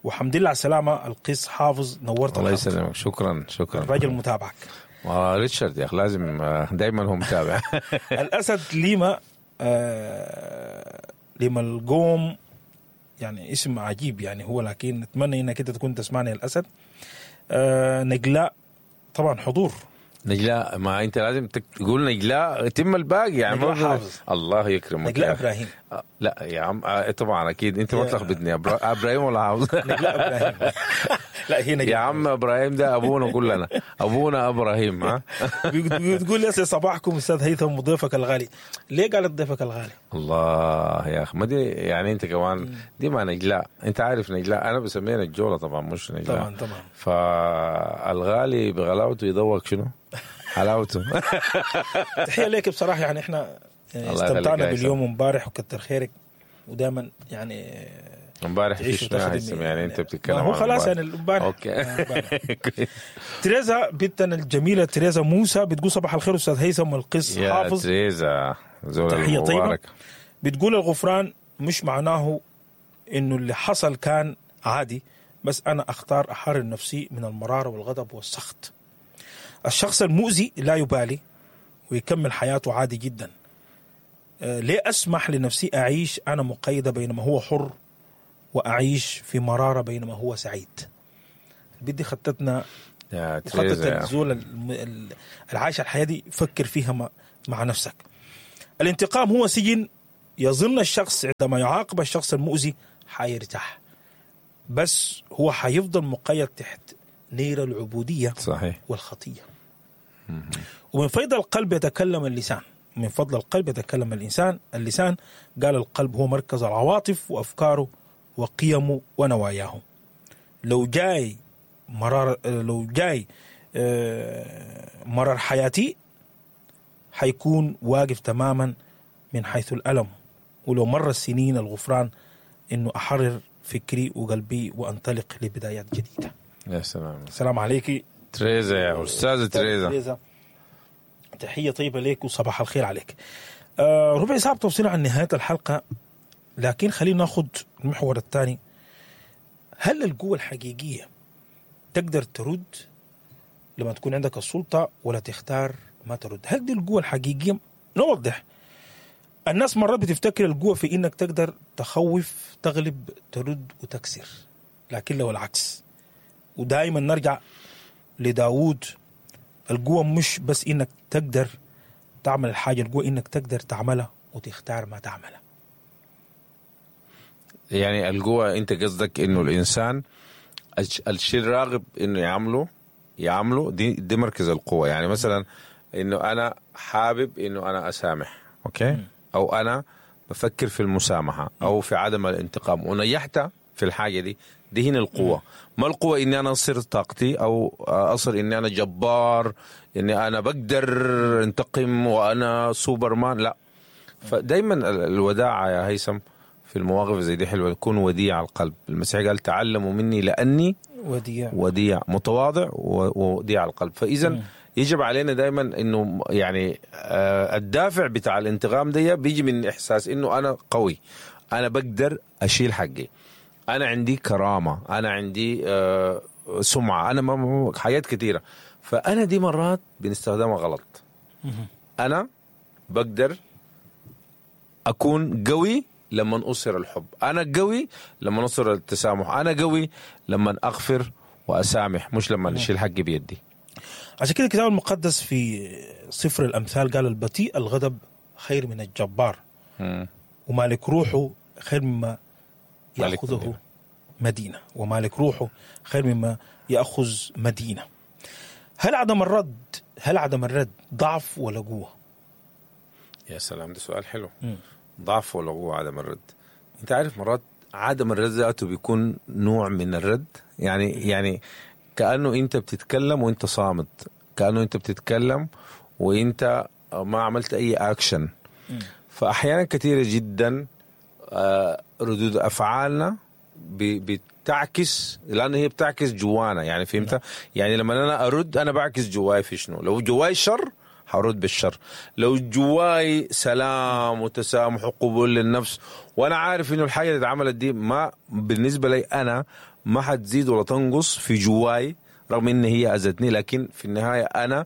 وحمد لله على السلامة القيس حافظ، نورت.
الله يسلمك، شكرا شكرا،
الراجل متابعك.
آه ريتشارد يا اخي لازم دايما هو متابع.
الاسد ليما آه ليما القوم، يعني اسم عجيب يعني هو، لكن نتمنى انك انت تكون تسمعني الاسد. آه نجلاء طبعا حضور
نجلاء، ما انت لازم تقول نجلاء تم الباقي يعني.
نجلاء حافظ،
الله يكرمك.
نجلاء ابراهيم.
لا يا عم طبعا اكيد انت ما تلخبطني. ابراهيم ولا حافظ؟
نجلاء ابراهيم. لا هي نجلاء
يا عم، ابراهيم ده ابونا كلنا، ابونا ابراهيم. ها
بتقول يا صباحكم استاذ هيثم وضيفك الغالي. ليه قالت ضيفك الغالي؟
الله يا اخي ما دي يعني انت كمان دي ما نجلاء، انت عارف نجلاء انا بسميها نجوله طبعا مش نجلاء.
طبعا طبعا.
فالغالي بغلاوته يذوق شنو؟ حلاوته.
تحية لك بصراحة، يعني احنا استمتعنا باليوم امبارح وكتر خيرك، ودائما يعني
امبارح في شنو يعني انت بتتكلم
هو خلاص يعني امبارح.
okay.
تريزا بنتنا الجميلة تريزا موسى بتقول صباح الخير استاذ هيثم والقس حافظ.
يا تريزا زول
تحية طيبة. بتقول الغفران مش معناه انه اللي حصل كان عادي، بس انا اختار احرر نفسي من المرارة والغضب والسخط. الشخص المؤذي لا يبالي ويكمل حياته عادي جدا. ليه أسمح لنفسي أعيش أنا مقيدة بينما هو حر، وأعيش في مرارة بينما هو سعيد؟ بدي خطتنا
يا
وخطة
تريزا يا.
الزول الم- ال- العايش الحياة دي فكر فيها مع, مع نفسك. الانتقام هو سجن يظن الشخص عندما يعاقب الشخص المؤذي حيرتاح، بس هو حيفضل مقيد تحت نير العبودية
صحيح.
والخطية. ومن فضل القلب يتكلم اللسان، من فضل القلب يتكلم الإنسان اللسان. قال القلب هو مركز العواطف وأفكاره وقيمه ونواياه. لو جاي مرار، لو جاي آه، مرار حياتي حيكون واقف تماما من حيث الألم، ولو مر السنين الغفران إنه أحرر فكري وقلبي وأنطلق لبدايات جديدة.
يا سلام.
السلام عليك
تريزا يا أستاذة تريزا.
تريزا، تحية طيبة لك وصباح الخير عليك. آه ربع ساعة بتوصلنا عن نهاية الحلقة، لكن خلينا ناخذ المحور الثاني. هل القوة الحقيقية تقدر ترد لما تكون عندك السلطة ولا تختار ما ترد؟ هل دي القوة الحقيقية؟ نوضح. الناس مرات بتفتكر القوة في إنك تقدر تخوف، تغلب، ترد وتكسر، لكن لو العكس. ودائما نرجع لداود، القوة مش بس إنك تقدر تعمل الحاجة، القوة إنك تقدر تعملها وتختار ما تعملها.
يعني القوة أنت قصدك إنه الإنسان الشيء الراغب إنه يعمله يعمله دي, دي مركز القوة. يعني مثلا إنه أنا حابب إنه أنا أسامح، أوكي؟ م. أو أنا بفكر في المسامحة أو في عدم الانتقام ونجحت في الحاجة دي، دي هنا القوة. ما القوة إني أنا أصير طاقتي أو أصير إني أنا جبار، إني أنا بقدر انتقم وأنا سوبرمان، لا. فدايما الوداعة يا هيثم في المواقف زي دي حلوة، يكون وديع القلب. المسيح قال تعلموا مني لأني
وديع،
وديع متواضع ووديع القلب. فإذا يجب علينا دايما إنه يعني الدافع بتاع الانتقام دي بيجي من إحساس إنه أنا قوي، أنا بقدر أشيل حقي، أنا عندي كرامة، أنا عندي سمعة، أنا حاجات كثيرة. فأنا دي مرات بنستخدمها غلط. أنا بقدر أكون قوي لما أصر الحب، أنا قوي لما أصر التسامح، أنا قوي لما أغفر وأسامح، مش لما أشيل حقي بيدي.
عشان كده الكتاب المقدس في سفر الأمثال قال البطيء الغضب خير من الجبار،
م.
ومالك روحه خير مما يأخذه مدينة. مدينة، ومالك روحه خير مما يأخذ مدينة. هل عدم الرد هل عدم الرد ضعف ولا قوة؟
يا سلام، ده سؤال حلو. م. ضعف ولا قوة عدم الرد؟ انت عارف مرات عدم الرد ذاته بيكون نوع من الرد، يعني يعني كأنه انت بتتكلم وانت صامت، كأنه انت بتتكلم وانت ما عملت اي اكشن. فاحيانا كثيرة جدا ردود افعالنا بتعكس، لان هي بتعكس جوانا، يعني فهمت؟ يعني لما انا ارد انا بعكس جواي في شنو. لو جواي شر هرد بالشر، لو جواي سلام وتسامح وقبول للنفس، وانا عارف انه الحاجة اللي اتعملت دي ما بالنسبة لي انا ما حتزيد ولا تنقص في جواي رغم ان هي اذتني، لكن في النهاية انا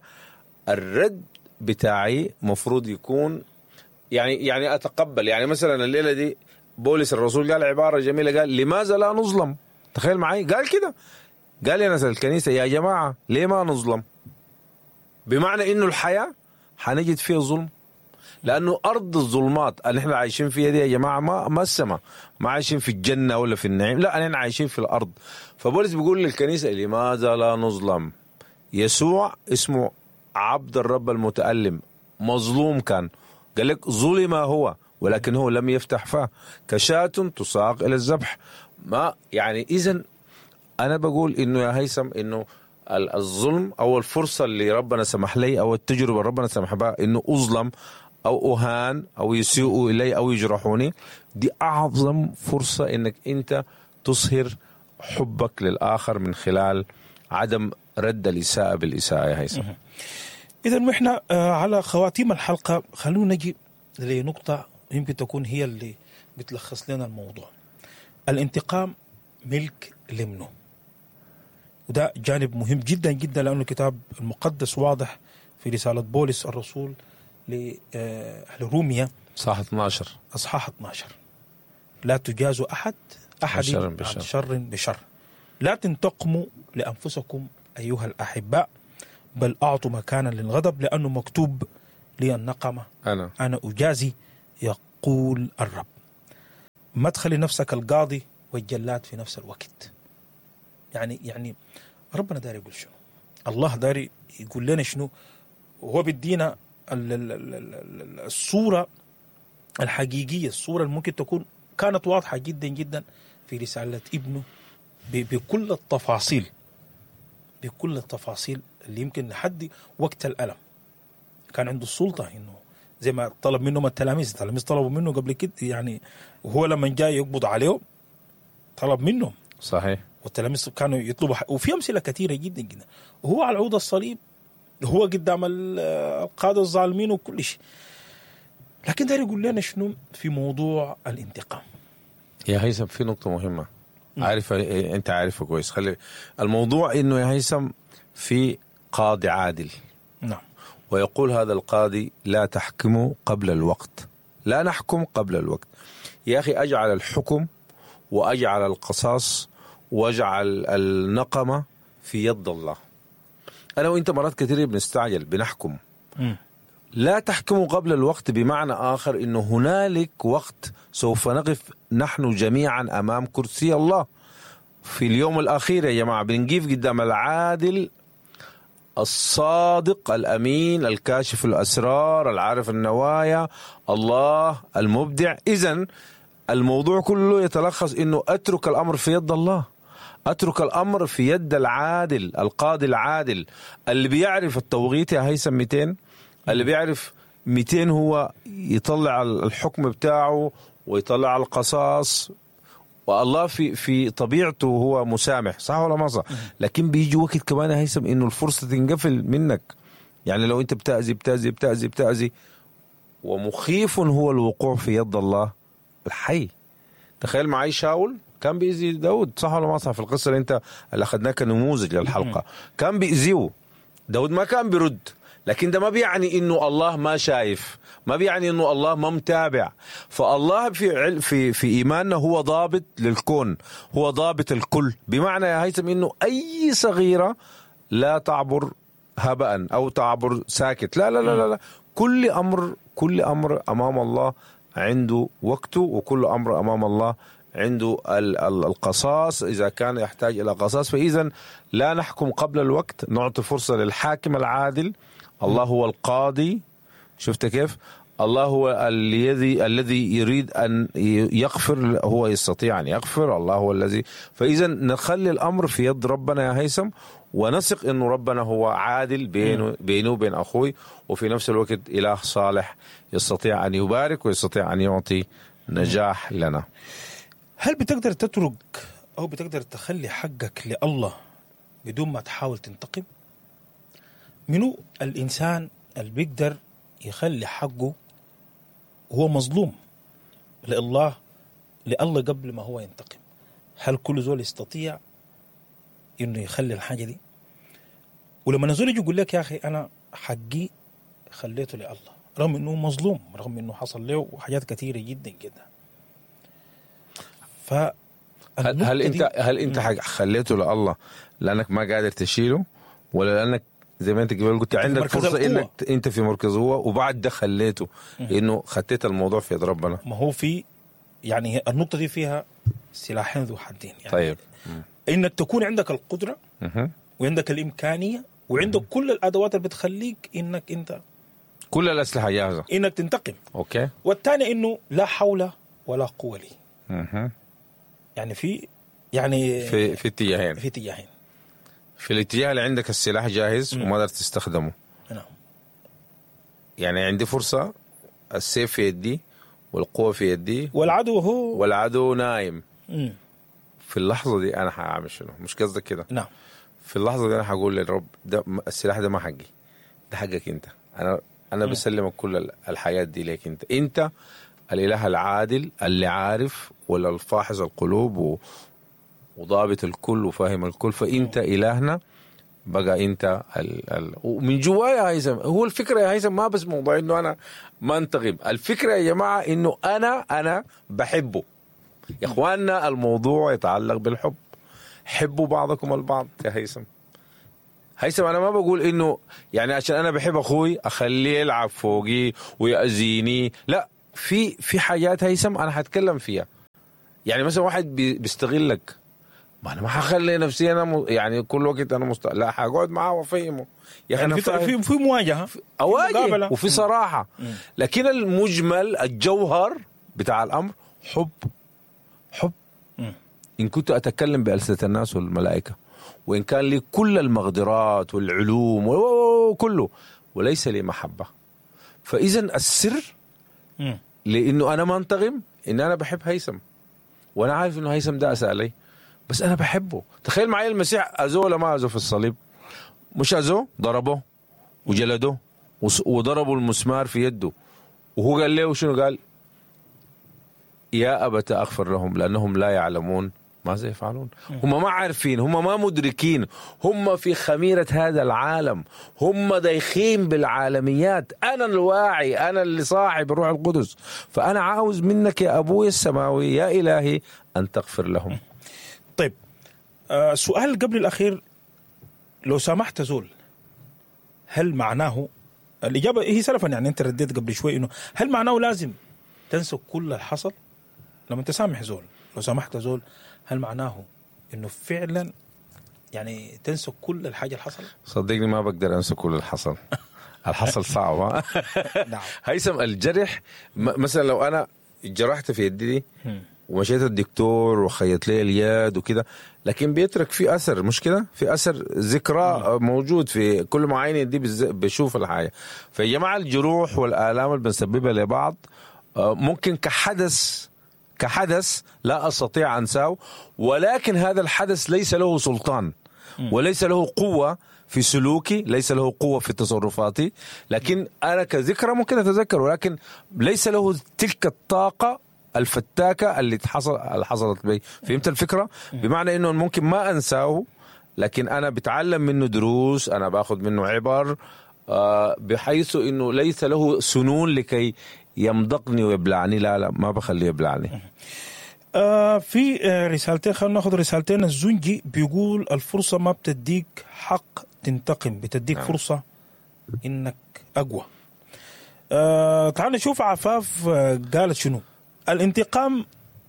الرد بتاعي مفروض يكون يعني يعني اتقبل. يعني مثلا الليلة دي بولس الرسول قال عبارة جميلة، قال لماذا لا نظلم؟ تخيل معي، قال كده، قال يا ناس الكنيسة يا جماعة ليه ما نظلم؟ بمعنى انه الحياة حنجد فيها ظلم، لانه ارض الظلمات اللي احنا عايشين فيها دي يا جماعة ما ما السماء، ما عايشين في الجنة ولا في النعيم، لا احنا عايشين في الارض. فبولس بيقول للكنيسة لماذا لا نظلم؟ يسوع اسمه عبد الرب المتألم، مظلوم كان، قال لك ظلم هو ولكن هو لم يفتح فاه، كشاة تساق الى الذبح. ما يعني اذا انا بقول انه يا هيثم انه الظلم او الفرصة اللي ربنا سمح لي او التجربة اللي ربنا سمح بها انه اظلم او اهان او يسيئوا الي او يجرحوني، دي اعظم فرصة انك انت تظهر حبك للاخر من خلال عدم رد الاساءة بالاساءة يا هيثم.
اذا واحنا على خواتيم الحلقة خلونا نجي لنقطة يمكن تكون هي اللي بتلخص لنا الموضوع. الانتقام ملك لمنه، وده جانب مهم جدا جدا، لأنه الكتاب المقدس واضح في رسالة بولس الرسول لأهل روميا
أصحاح اثنا عشر،
أصحاح اثنا عشر، لا تجازوا أحد أحد عن شر بشر، لا تنتقموا لأنفسكم أيها الأحباء، بل أعطوا مكانا للغضب، لأنه مكتوب لي النقمة
أنا
أنا أجازي يقول الرب. ما تخلي نفسك القاضي والجلاد في نفس الوقت. يعني يعني ربنا داري يقول شنو؟ الله داري يقول لنا شنو؟ وهو بيدينا الصورة الحقيقية، الصورة اللي ممكن تكون كانت واضحة جدا جدا في رسالة ابنه بكل التفاصيل، بكل التفاصيل اللي يمكن لحد وقت الألم كان عنده السلطة إنه زي ما طلب منهم التلاميذ، التلاميذ طلبوا منه قبل كده يعني، وهو لما جاي يقبض عليهم طلب منهم.
صحيح.
والتلاميذ كانوا يطلبوا، وفي أمثلة كثيرة جدا جدا. وهو على عود الصليب، هو قدام القادة الظالمين وكل شيء. لكن ده يقول لنا شنو في موضوع الانتقام؟
يا هيثم في نقطة مهمة عارفة، أنت عارفة كويس. خلي الموضوع إنه يا هيثم في قاضي عادل.
نعم.
ويقول هذا القاضي لا تحكموا قبل الوقت، لا نحكم قبل الوقت. يا أخي أجعل الحكم وأجعل القصاص وأجعل النقمة في يد الله. أنا وإنت مرات كثير بنستعجل بنحكم.
م.
لا تحكموا قبل الوقت بمعنى آخر إنه هنالك وقت سوف نقف نحن جميعا أمام كرسي الله في اليوم الأخير. يا جماعة بنقف قدام العادل الصادق الأمين الكاشف الأسرار العارف النوايا الله المبدع. إذن الموضوع كله يتلخص إنه أترك الأمر في يد الله، أترك الأمر في يد العادل القاضي العادل اللي بيعرف التوقيت يا هيثم مئتين، اللي بيعرف مئتين هو يطلع الحكم بتاعه ويطلع القصاص. والله في في طبيعته هو مسامح، صح ولا ما صح؟ لكن بيجي وقت كمان يا هيثم انه الفرصة تنقفل منك. يعني لو انت بتأذي بتأذي بتأذي بتأذي، ومخيف هو الوقوع في يد الله الحي. تخيل معي شاول كان بيأذي داود، صح ولا ما صح؟ في القصة اللي انت اللي اخذناها كنموذج للحلقة كان بيأذيه داود، ما كان بيرد، لكن ده ما بيعني انه الله ما شايف، ما بيعني انه الله ما متابع. فالله في في في ايماننا هو ضابط للكون، هو ضابط الكل. بمعنى يا هيثم انه اي صغيرة لا تعبر هباء او تعبر ساكت، لا لا لا لا، كل امر كل امر امام الله عنده وقته، وكل امر امام الله عنده القصاص إذا كان يحتاج إلى قصاص. فإذا لا نحكم قبل الوقت، نعطي فرصة للحاكم العادل. الله هو القاضي، شفت كيف؟ الله هو الذي الذي يريد أن يغفر، هو يستطيع أن يغفر، الله هو الذي. فإذا نخلي الأمر في يد ربنا يا هيثم، ونثق إنه ربنا هو عادل بينه بينه وبين أخوي، وفي نفس الوقت إله صالح يستطيع أن يبارك ويستطيع أن يعطي نجاح لنا.
هل بتقدر تترك أو بتقدر تخلي حقك لله بدون ما تحاول تنتقم؟ منو الإنسان اللي بيقدر يخلي حقه هو مظلوم لله لله قبل ما هو ينتقم؟ هل كل زول يستطيع إنه يخلي الحاجة دي؟ ولما نزول يجي يقول لك يا أخي أنا حقي خليته لله، رغم إنه مظلوم، رغم إنه حصل له حاجات كثيرة جدا جدا. ف
هل, هل انت هل انت خليته لله لانك ما قادر تشيله، ولا لانك زي ما انت قبل قلت عندك فرصة انك انت في مركز هو، وبعد ده خليته انه خطيت الموضوع في يد ربنا؟
ما هو في يعني النقطة دي فيها سلاحين ذو حدين يعني.
طيب
انك تكون عندك القدرة
مم.
وعندك الامكانية وعندك مم. كل الادوات اللي بتخليك انك انت
كل الاسلحة جاهزة
انك تنتقم.
okay.
والثاني انه لا حول ولا قوة لي.
مم.
يعني في يعني
في في اتجاهين،
في اتجاهين.
في الاتجاه اللي عندك السلاح جاهز وما قدرت تستخدمه.
نعم.
يعني عندي فرصة، السيف في يدي والقوة في يدي
والعدو هو
والعدو نايم.
مم.
في اللحظة دي أنا هعمل شنو؟ مش قصدك كده؟
نعم.
في اللحظة دي أنا هقول للرب ده السلاح ده ما حقي، ده حقك أنت. أنا أنا
مم.
بسلمك كل الحياة دي ليك أنت. أنت الإله العادل اللي عارف ولا الفاحص القلوب و... وضابط الكل وفاهم الكل، فأنت إلهنا بقى أنت ال... ال... ومن جوايا يا هيثم هو الفكرة يا هيثم ما بس موضوع إنه أنا ما انتقم، الفكرة يا جماعة إنه أنا أنا بحبه. يا إخواننا الموضوع يتعلق بالحب، حبوا بعضكم البعض يا هيثم. هيثم انا ما بقول انه يعني عشان انا بحب اخوي اخليه يلعب فوقي ويأذيني، لا، في في حاجات هيثم انا حتكلم فيها. يعني مثلا واحد بيستغلك، ما انا ما حخلي نفسي انا م... يعني كل وقت انا مست... لا، حقعد معاه وافهمه
يا اخي، يعني في في في مواجهة،
اواجه وفي صراحة. لكن المجمل الجوهر بتاع الامر حب، حب. مم. ان كنت اتكلم بألسنة الناس والملائكة، وان كان لي كل المقدرات والعلوم وكله، وليس لي محبة، فاذا السر مم. لانه انا ما انتقم، ان انا بحب هيثم، وانا عارف انه هيثم ده اساء لي، بس انا بحبه. تخيل معي المسيح اذوه ولا ما اذوه في الصليب؟ مش اذوه، ضربه وجلده وضربوا المسمار في يده، وهو قال له شنو؟ قال يا أبت أغفر لهم لأنهم لا يعلمون ماذا يفعلون. هم ما عارفين، هم ما مدركين، هم في خميرة هذا العالم، هم دايخين بالعالميات. أنا الواعي، أنا اللي صاحب الروح القدس، فأنا عاوز منك يا أبوي السماوي يا إلهي أن تغفر لهم.
طيب آه سؤال قبل الأخير، لو سامحت زول هل معناه، الإجابة هي سلفا يعني أنت رديت قبل شوي، إنه هل معناه لازم تنسى كل اللي حصل؟ لما تسامح زول، لو سامحت زول، هل معناه إنه فعلا يعني تنسى كل الحاجة اللي حصلت؟
صدقني ما بقدر أنسى كل اللي حصل. الحصل صعب. نعم. هيثم الجرح مثلا لو أنا جرحت في يدي دي ومشيت الدكتور وخيط لي اليد وكده، لكن بيترك في اثر، مش كده؟ في اثر ذكرى موجود في كل ما عيني دي بشوف الحاجة. فيا جماعة الجروح والالام اللي بنسببها لبعض ممكن كحدث كحدث لا استطيع انساه، ولكن هذا الحدث ليس له سلطان وليس له قوة في سلوكي، ليس له قوة في تصرفاتي، لكن انا كذكرى ممكن اتذكر، ولكن ليس له تلك الطاقة الفتاكة اللي حصل اللي حصلت بي. فهمت الفكرة؟ بمعنى انه ممكن ما انساه، لكن انا بتعلم منه دروس، انا باخذ منه عبر، بحيث انه ليس له سنون لكي يمضغني ويبلعني. لا لا، ما بخليه يبلعني.
آه في رسالتين، خلينا ناخذ رسالتين. الزنجي بيقول الفرصة ما بتديك حق تنتقم، بتديك نعم. فرصة انك اقوى. آه تعال نشوف عفاف قالت شنو. الانتقام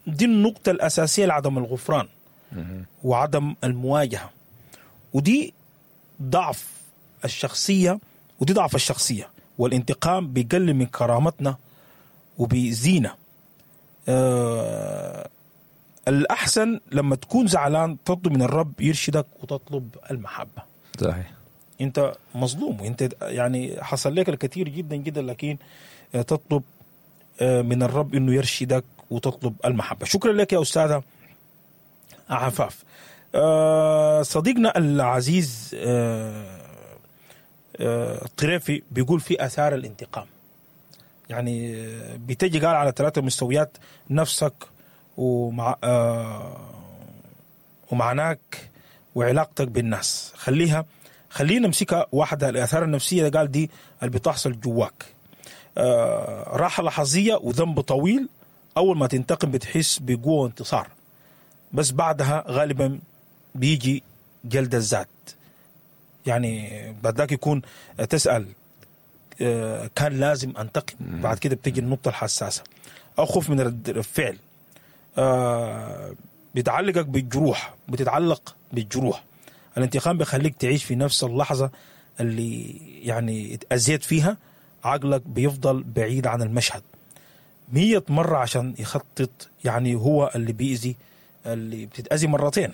دي النقطة الأساسية لعدم الغفران وعدم المواجهة، ودي ضعف الشخصية، ودي ضعف الشخصية. والانتقام بيقلل من كرامتنا وبيزينا. أه الأحسن لما تكون زعلان تطلب من الرب يرشدك وتطلب المحبة.
صحيح.
أنت مظلوم وأنت يعني حصل لك الكثير جدا جدا، لكن تطلب من الرب انه يرشدك وتطلب المحبة. شكرا لك يا استاذه عفاف. صديقنا العزيز الطريفي بيقول في اثار الانتقام، يعني بتجي قال على ثلاثة مستويات: نفسك ومع ومعناك وعلاقتك بالناس. خليها خلينا نمسكها واحدة. الاثار النفسية قال دي اللي بتحصل جواك، آه، راحة لحظية وذنب طويل. أول ما تنتقم بتحس بقوة وانتصار، بس بعدها غالبا بيجي جلد الذات. يعني بعد ذاك يكون تسأل آه، كان لازم أنتقم. بعد كده بتجي النقطة الحساسة، أو خوف من رد الفعل. آه، بتعلقك بالجروح، بتتعلق بالجروح. الانتقام بيخليك تعيش في نفس اللحظة اللي يعني اتأذيت فيها، عقلك بيفضل بعيد عن المشهد مية مرة عشان يخطط. يعني هو اللي بيأذي، اللي بتتأذي مرتين.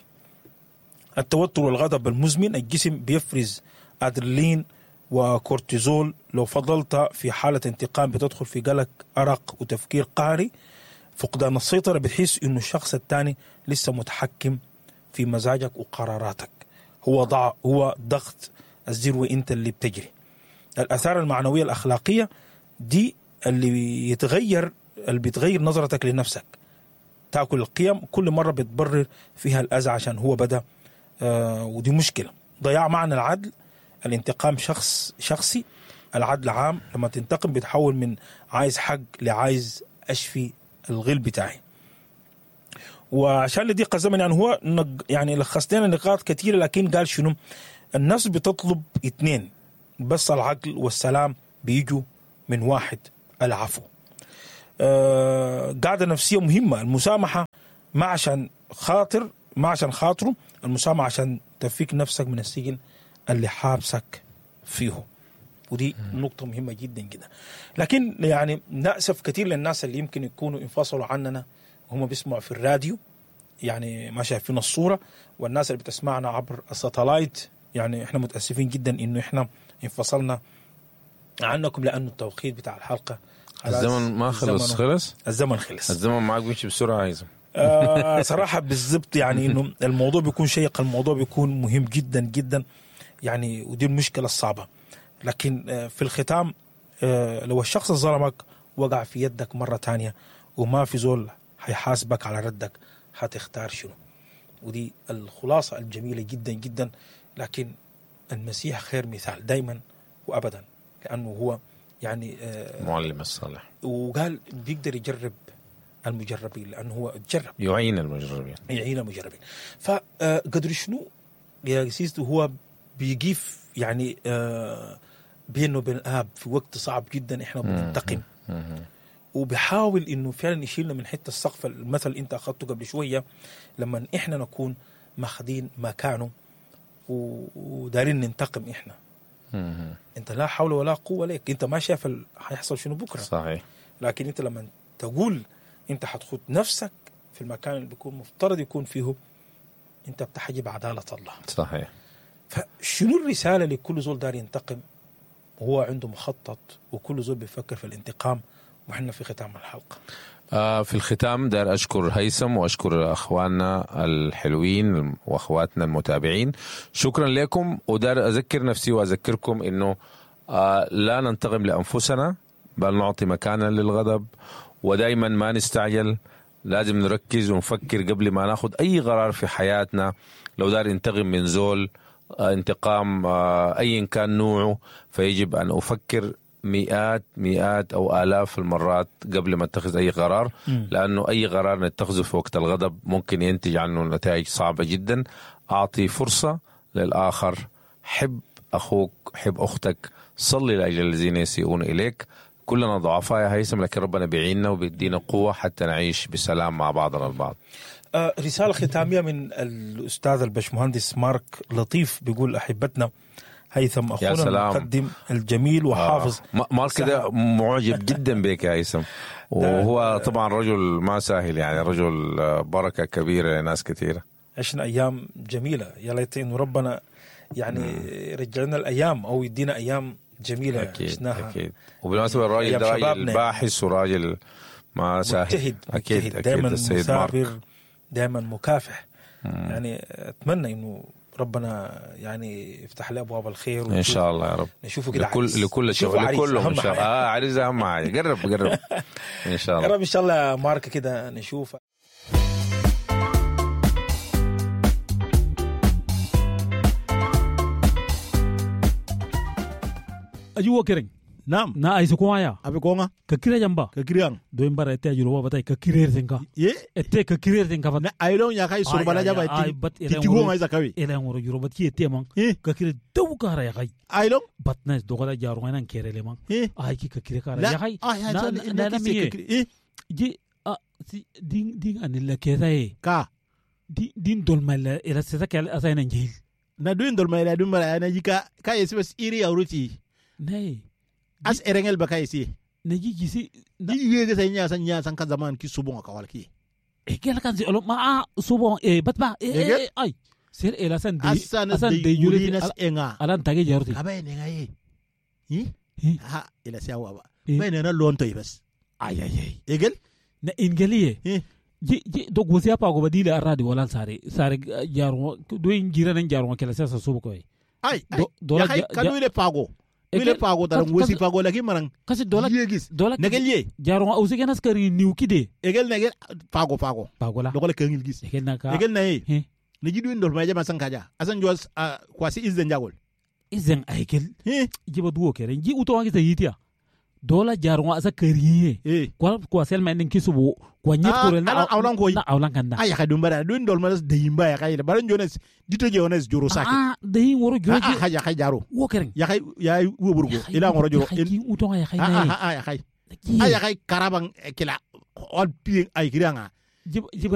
التوتر والغضب المزمن، الجسم بيفرز أدرينالين وكورتيزول. لو فضلت في حالة انتقام بتدخل في قلق، أرق، وتفكير قهري. فقدان السيطرة، بتحس إنه الشخص الثاني لسه متحكم في مزاجك وقراراتك. هو ضع هو ضغط الزر وإنت اللي بتجري. الآثار المعنوية الأخلاقية دي اللي يتغير، اللي بتغير نظرتك لنفسك، تأكل القيم كل مرة بتبرر فيها الأذى عشان هو بدأ، آه ودي مشكلة. ضياع معنى العدل، الانتقام شخص شخصي، العدل عام. لما تنتقم بتحول من عايز حق لعايز أشفي الغل بتاعي. وعشان لضيق الزمن يعني هو نج يعني لخص لنا نقاط كثيرة، لكن قال شنو؟ النفس بتطلب اتنين بس، العقل والسلام بيجوا من واحد، العفو. آه قاعدة نفسية مهمة، المسامحة ما عشان خاطر ما عشان خاطره، المسامحة عشان تفك نفسك من السجن اللي حابسك فيه. ودي نقطة مهمة جدا جدا. لكن يعني نأسف كثير للناس اللي يمكن يكونوا انفصلوا عننا وهم بيسمعوا في الراديو، يعني ما شايفين الصورة، والناس اللي بتسمعنا عبر الساتلايت، يعني احنا متأسفين جدا انه احنا انفصلنا عنكم لانه التوقيت بتاع الحلقة
الزمن ما خلص. خلص
الزمن خلص.
الزمن معك بيمشي بسرعة عايزه.
آه صراحة بالضبط، يعني انه الموضوع بيكون شيق، الموضوع بيكون مهم جدا جدا يعني، ودي المشكلة الصعبة. لكن في الختام، لو الشخص ظلمك وقع في يدك مرة تانية وما في زول هيحاسبك على ردك، هتختار شنو؟ ودي الخلاصة الجميلة جدا جدا. لكن المسيح خير مثال دايما وأبدا، لأنه هو يعني
معلم الصالح،
وقال بيقدر يجرب المجربين لأنه هو تجرب،
يعين المجربين،
يعين المجربين. فقدر شنو يا سيستو هو بيقف يعني بينه وبين الآب في وقت صعب جدا، احنا بننتقم، وبيحاول انه فعلا يشيلنا من حتة السقف. المثل انت اخذته قبل شوية، لما احنا نكون ماخذين مكانه ودارين ننتقم احنا، انت لا حول ولا قوة لك، انت ما شايف هيحصل شنو بكره.
صحيح.
لكن انت لما تقول انت هتخد نفسك في المكان اللي بيكون مفترض يكون فيه، انت بتحجب عدالة الله.
صحيح.
فشنو الرسالة لكل زول دار ينتقم وهو عنده مخطط، وكل زول بيفكر في الانتقام؟ وحنا في ختام الحلقة.
آه في الختام دار أشكر هيثم وأشكر أخواننا الحلوين وأخواتنا المتابعين، شكرا لكم. ودار أذكر نفسي وأذكركم إنه آه لا ننتقم لأنفسنا، بل نعطي مكانا للغضب، ودايما ما نستعجل، لازم نركز ونفكر قبل ما ناخد أي قرار في حياتنا. لو دار انتقم من زول انتقام أي كان نوعه، فيجب أن أفكر مئات مئات أو آلاف المرات قبل ما اتخذ أي قرار، لأنه أي قرار نتخذه في وقت الغضب ممكن ينتج عنه نتائج صعبة جدا. أعطي فرصة للآخر، حب أخوك، حب أختك، صلي لأجل الذين يسيئون إليك. كلنا ضعفاء يا هيثم، لكن ربنا بيعيننا وبيدينا قوة حتى نعيش بسلام مع بعضنا البعض.
آه رسالة ختامية من الأستاذ البشمهندس مارك لطيف، بيقول أحبتنا هيثم أخونا المقدم الجميل وحافظ.
آه. مارك ده معجب جدا بك يا هيثم، وهو طبعا رجل ما سهل، يعني رجل بركة كبيرة لناس كثيرة.
عشنا أيام جميلة، يا ليت إنه ربنا يعني رجعنا الأيام أو يدينا أيام جميلة.
أكيد أكيد. وبالمناسبة الراجل ده راجل باحث وراجل ما سهل،
مجتهد.
أكيد
دائما مثابر، دائما مكافح. مم. يعني أتمنى إنه ربنا يعني يفتح له أبواب الخير
إن شاء الله يا رب.
نشوفه كده
لكل لكل شيء لكله إن شاء الله. آه عريس أهم حاجة، قرب قرب إن شاء الله.
يا رب إن شاء الله مارك كده نشوف.
Ajuwa kereng.
Naam.
Na aisu kwaya.
Abe konga.
Kakire jamba.
Kakiriang.
Do imbara ete ajuro batai kakire tenka.
Ye?
Ete kakire tenka bat.
Na ailong ya kai surbala jaba ete. Titigo ngai zakawi.
Ele ngoro juro bat ki ete mang. Kakire dawu kara ya kai.
Ailong?
Bat na dogala jaru ngai nan kere le mang. Ai ki kakire kara ya kai.
Na
na na miye. Ji a si ding ding anilla kesa e.
Ka.
Di din dolma ela sesa kala asai nan jil.
Na duin dolma ela dum mara na jika ka yesi bas iri auruti.
Nay.
As erengel baka isi.
Naji gisi.
Di yege sa nya san nya san ka zaman ki subon ka wal ki.
E kel kan si olo ma a subon e batba e ay. Ser ela san de
asan de yurinas enga.
Alan tage jarti.
Ka bay nenga ye. Hi? Ha ila siawa ba. Bay nena lonto bas.
Ay ay ay.
Egel?
Na ingeliye. Ji ji do gosia pa go badila aradi wala sare sare jaro do ingira nan jaro kala sa subo ko.
Ay ay. Ya kai kanu ile pago. Wile pago taran wesi pago lagi marang.
Kasi dola
yegis.
Dola
negel ye.
Jaro ausi kenas kari niu kide.
Egel negel pago pago.
Pago la.
Dokola kengil gis.
Egel naka.
Egel na ye. Negi duin dol maja masan kaja. Asan juas kwasi izden jagol.
Izden aigel.
He.
Jiba duo kere. Ji uto wangi sa yitia. Dola jarongo asa kariye.
Eh.
Kwa kwa selma endin kisubu kwa nyet
Ah,
korel na
ala- awlan koy.
na awlan kanda.
Ah, ya dum bara dun dol manas deyimba ya kay bara jones dito jones joro sake.
Ah, dehin woro
Ah,
joro
ah, ya kay jaro.
wo keren.
Ya kay ya woburgo ila ngoro joro.
Kin utonga ya khay
Ah
na.
ah ah ya kay. Ah ya kay karaban kila on pi ay kiranga.
Jiba jiba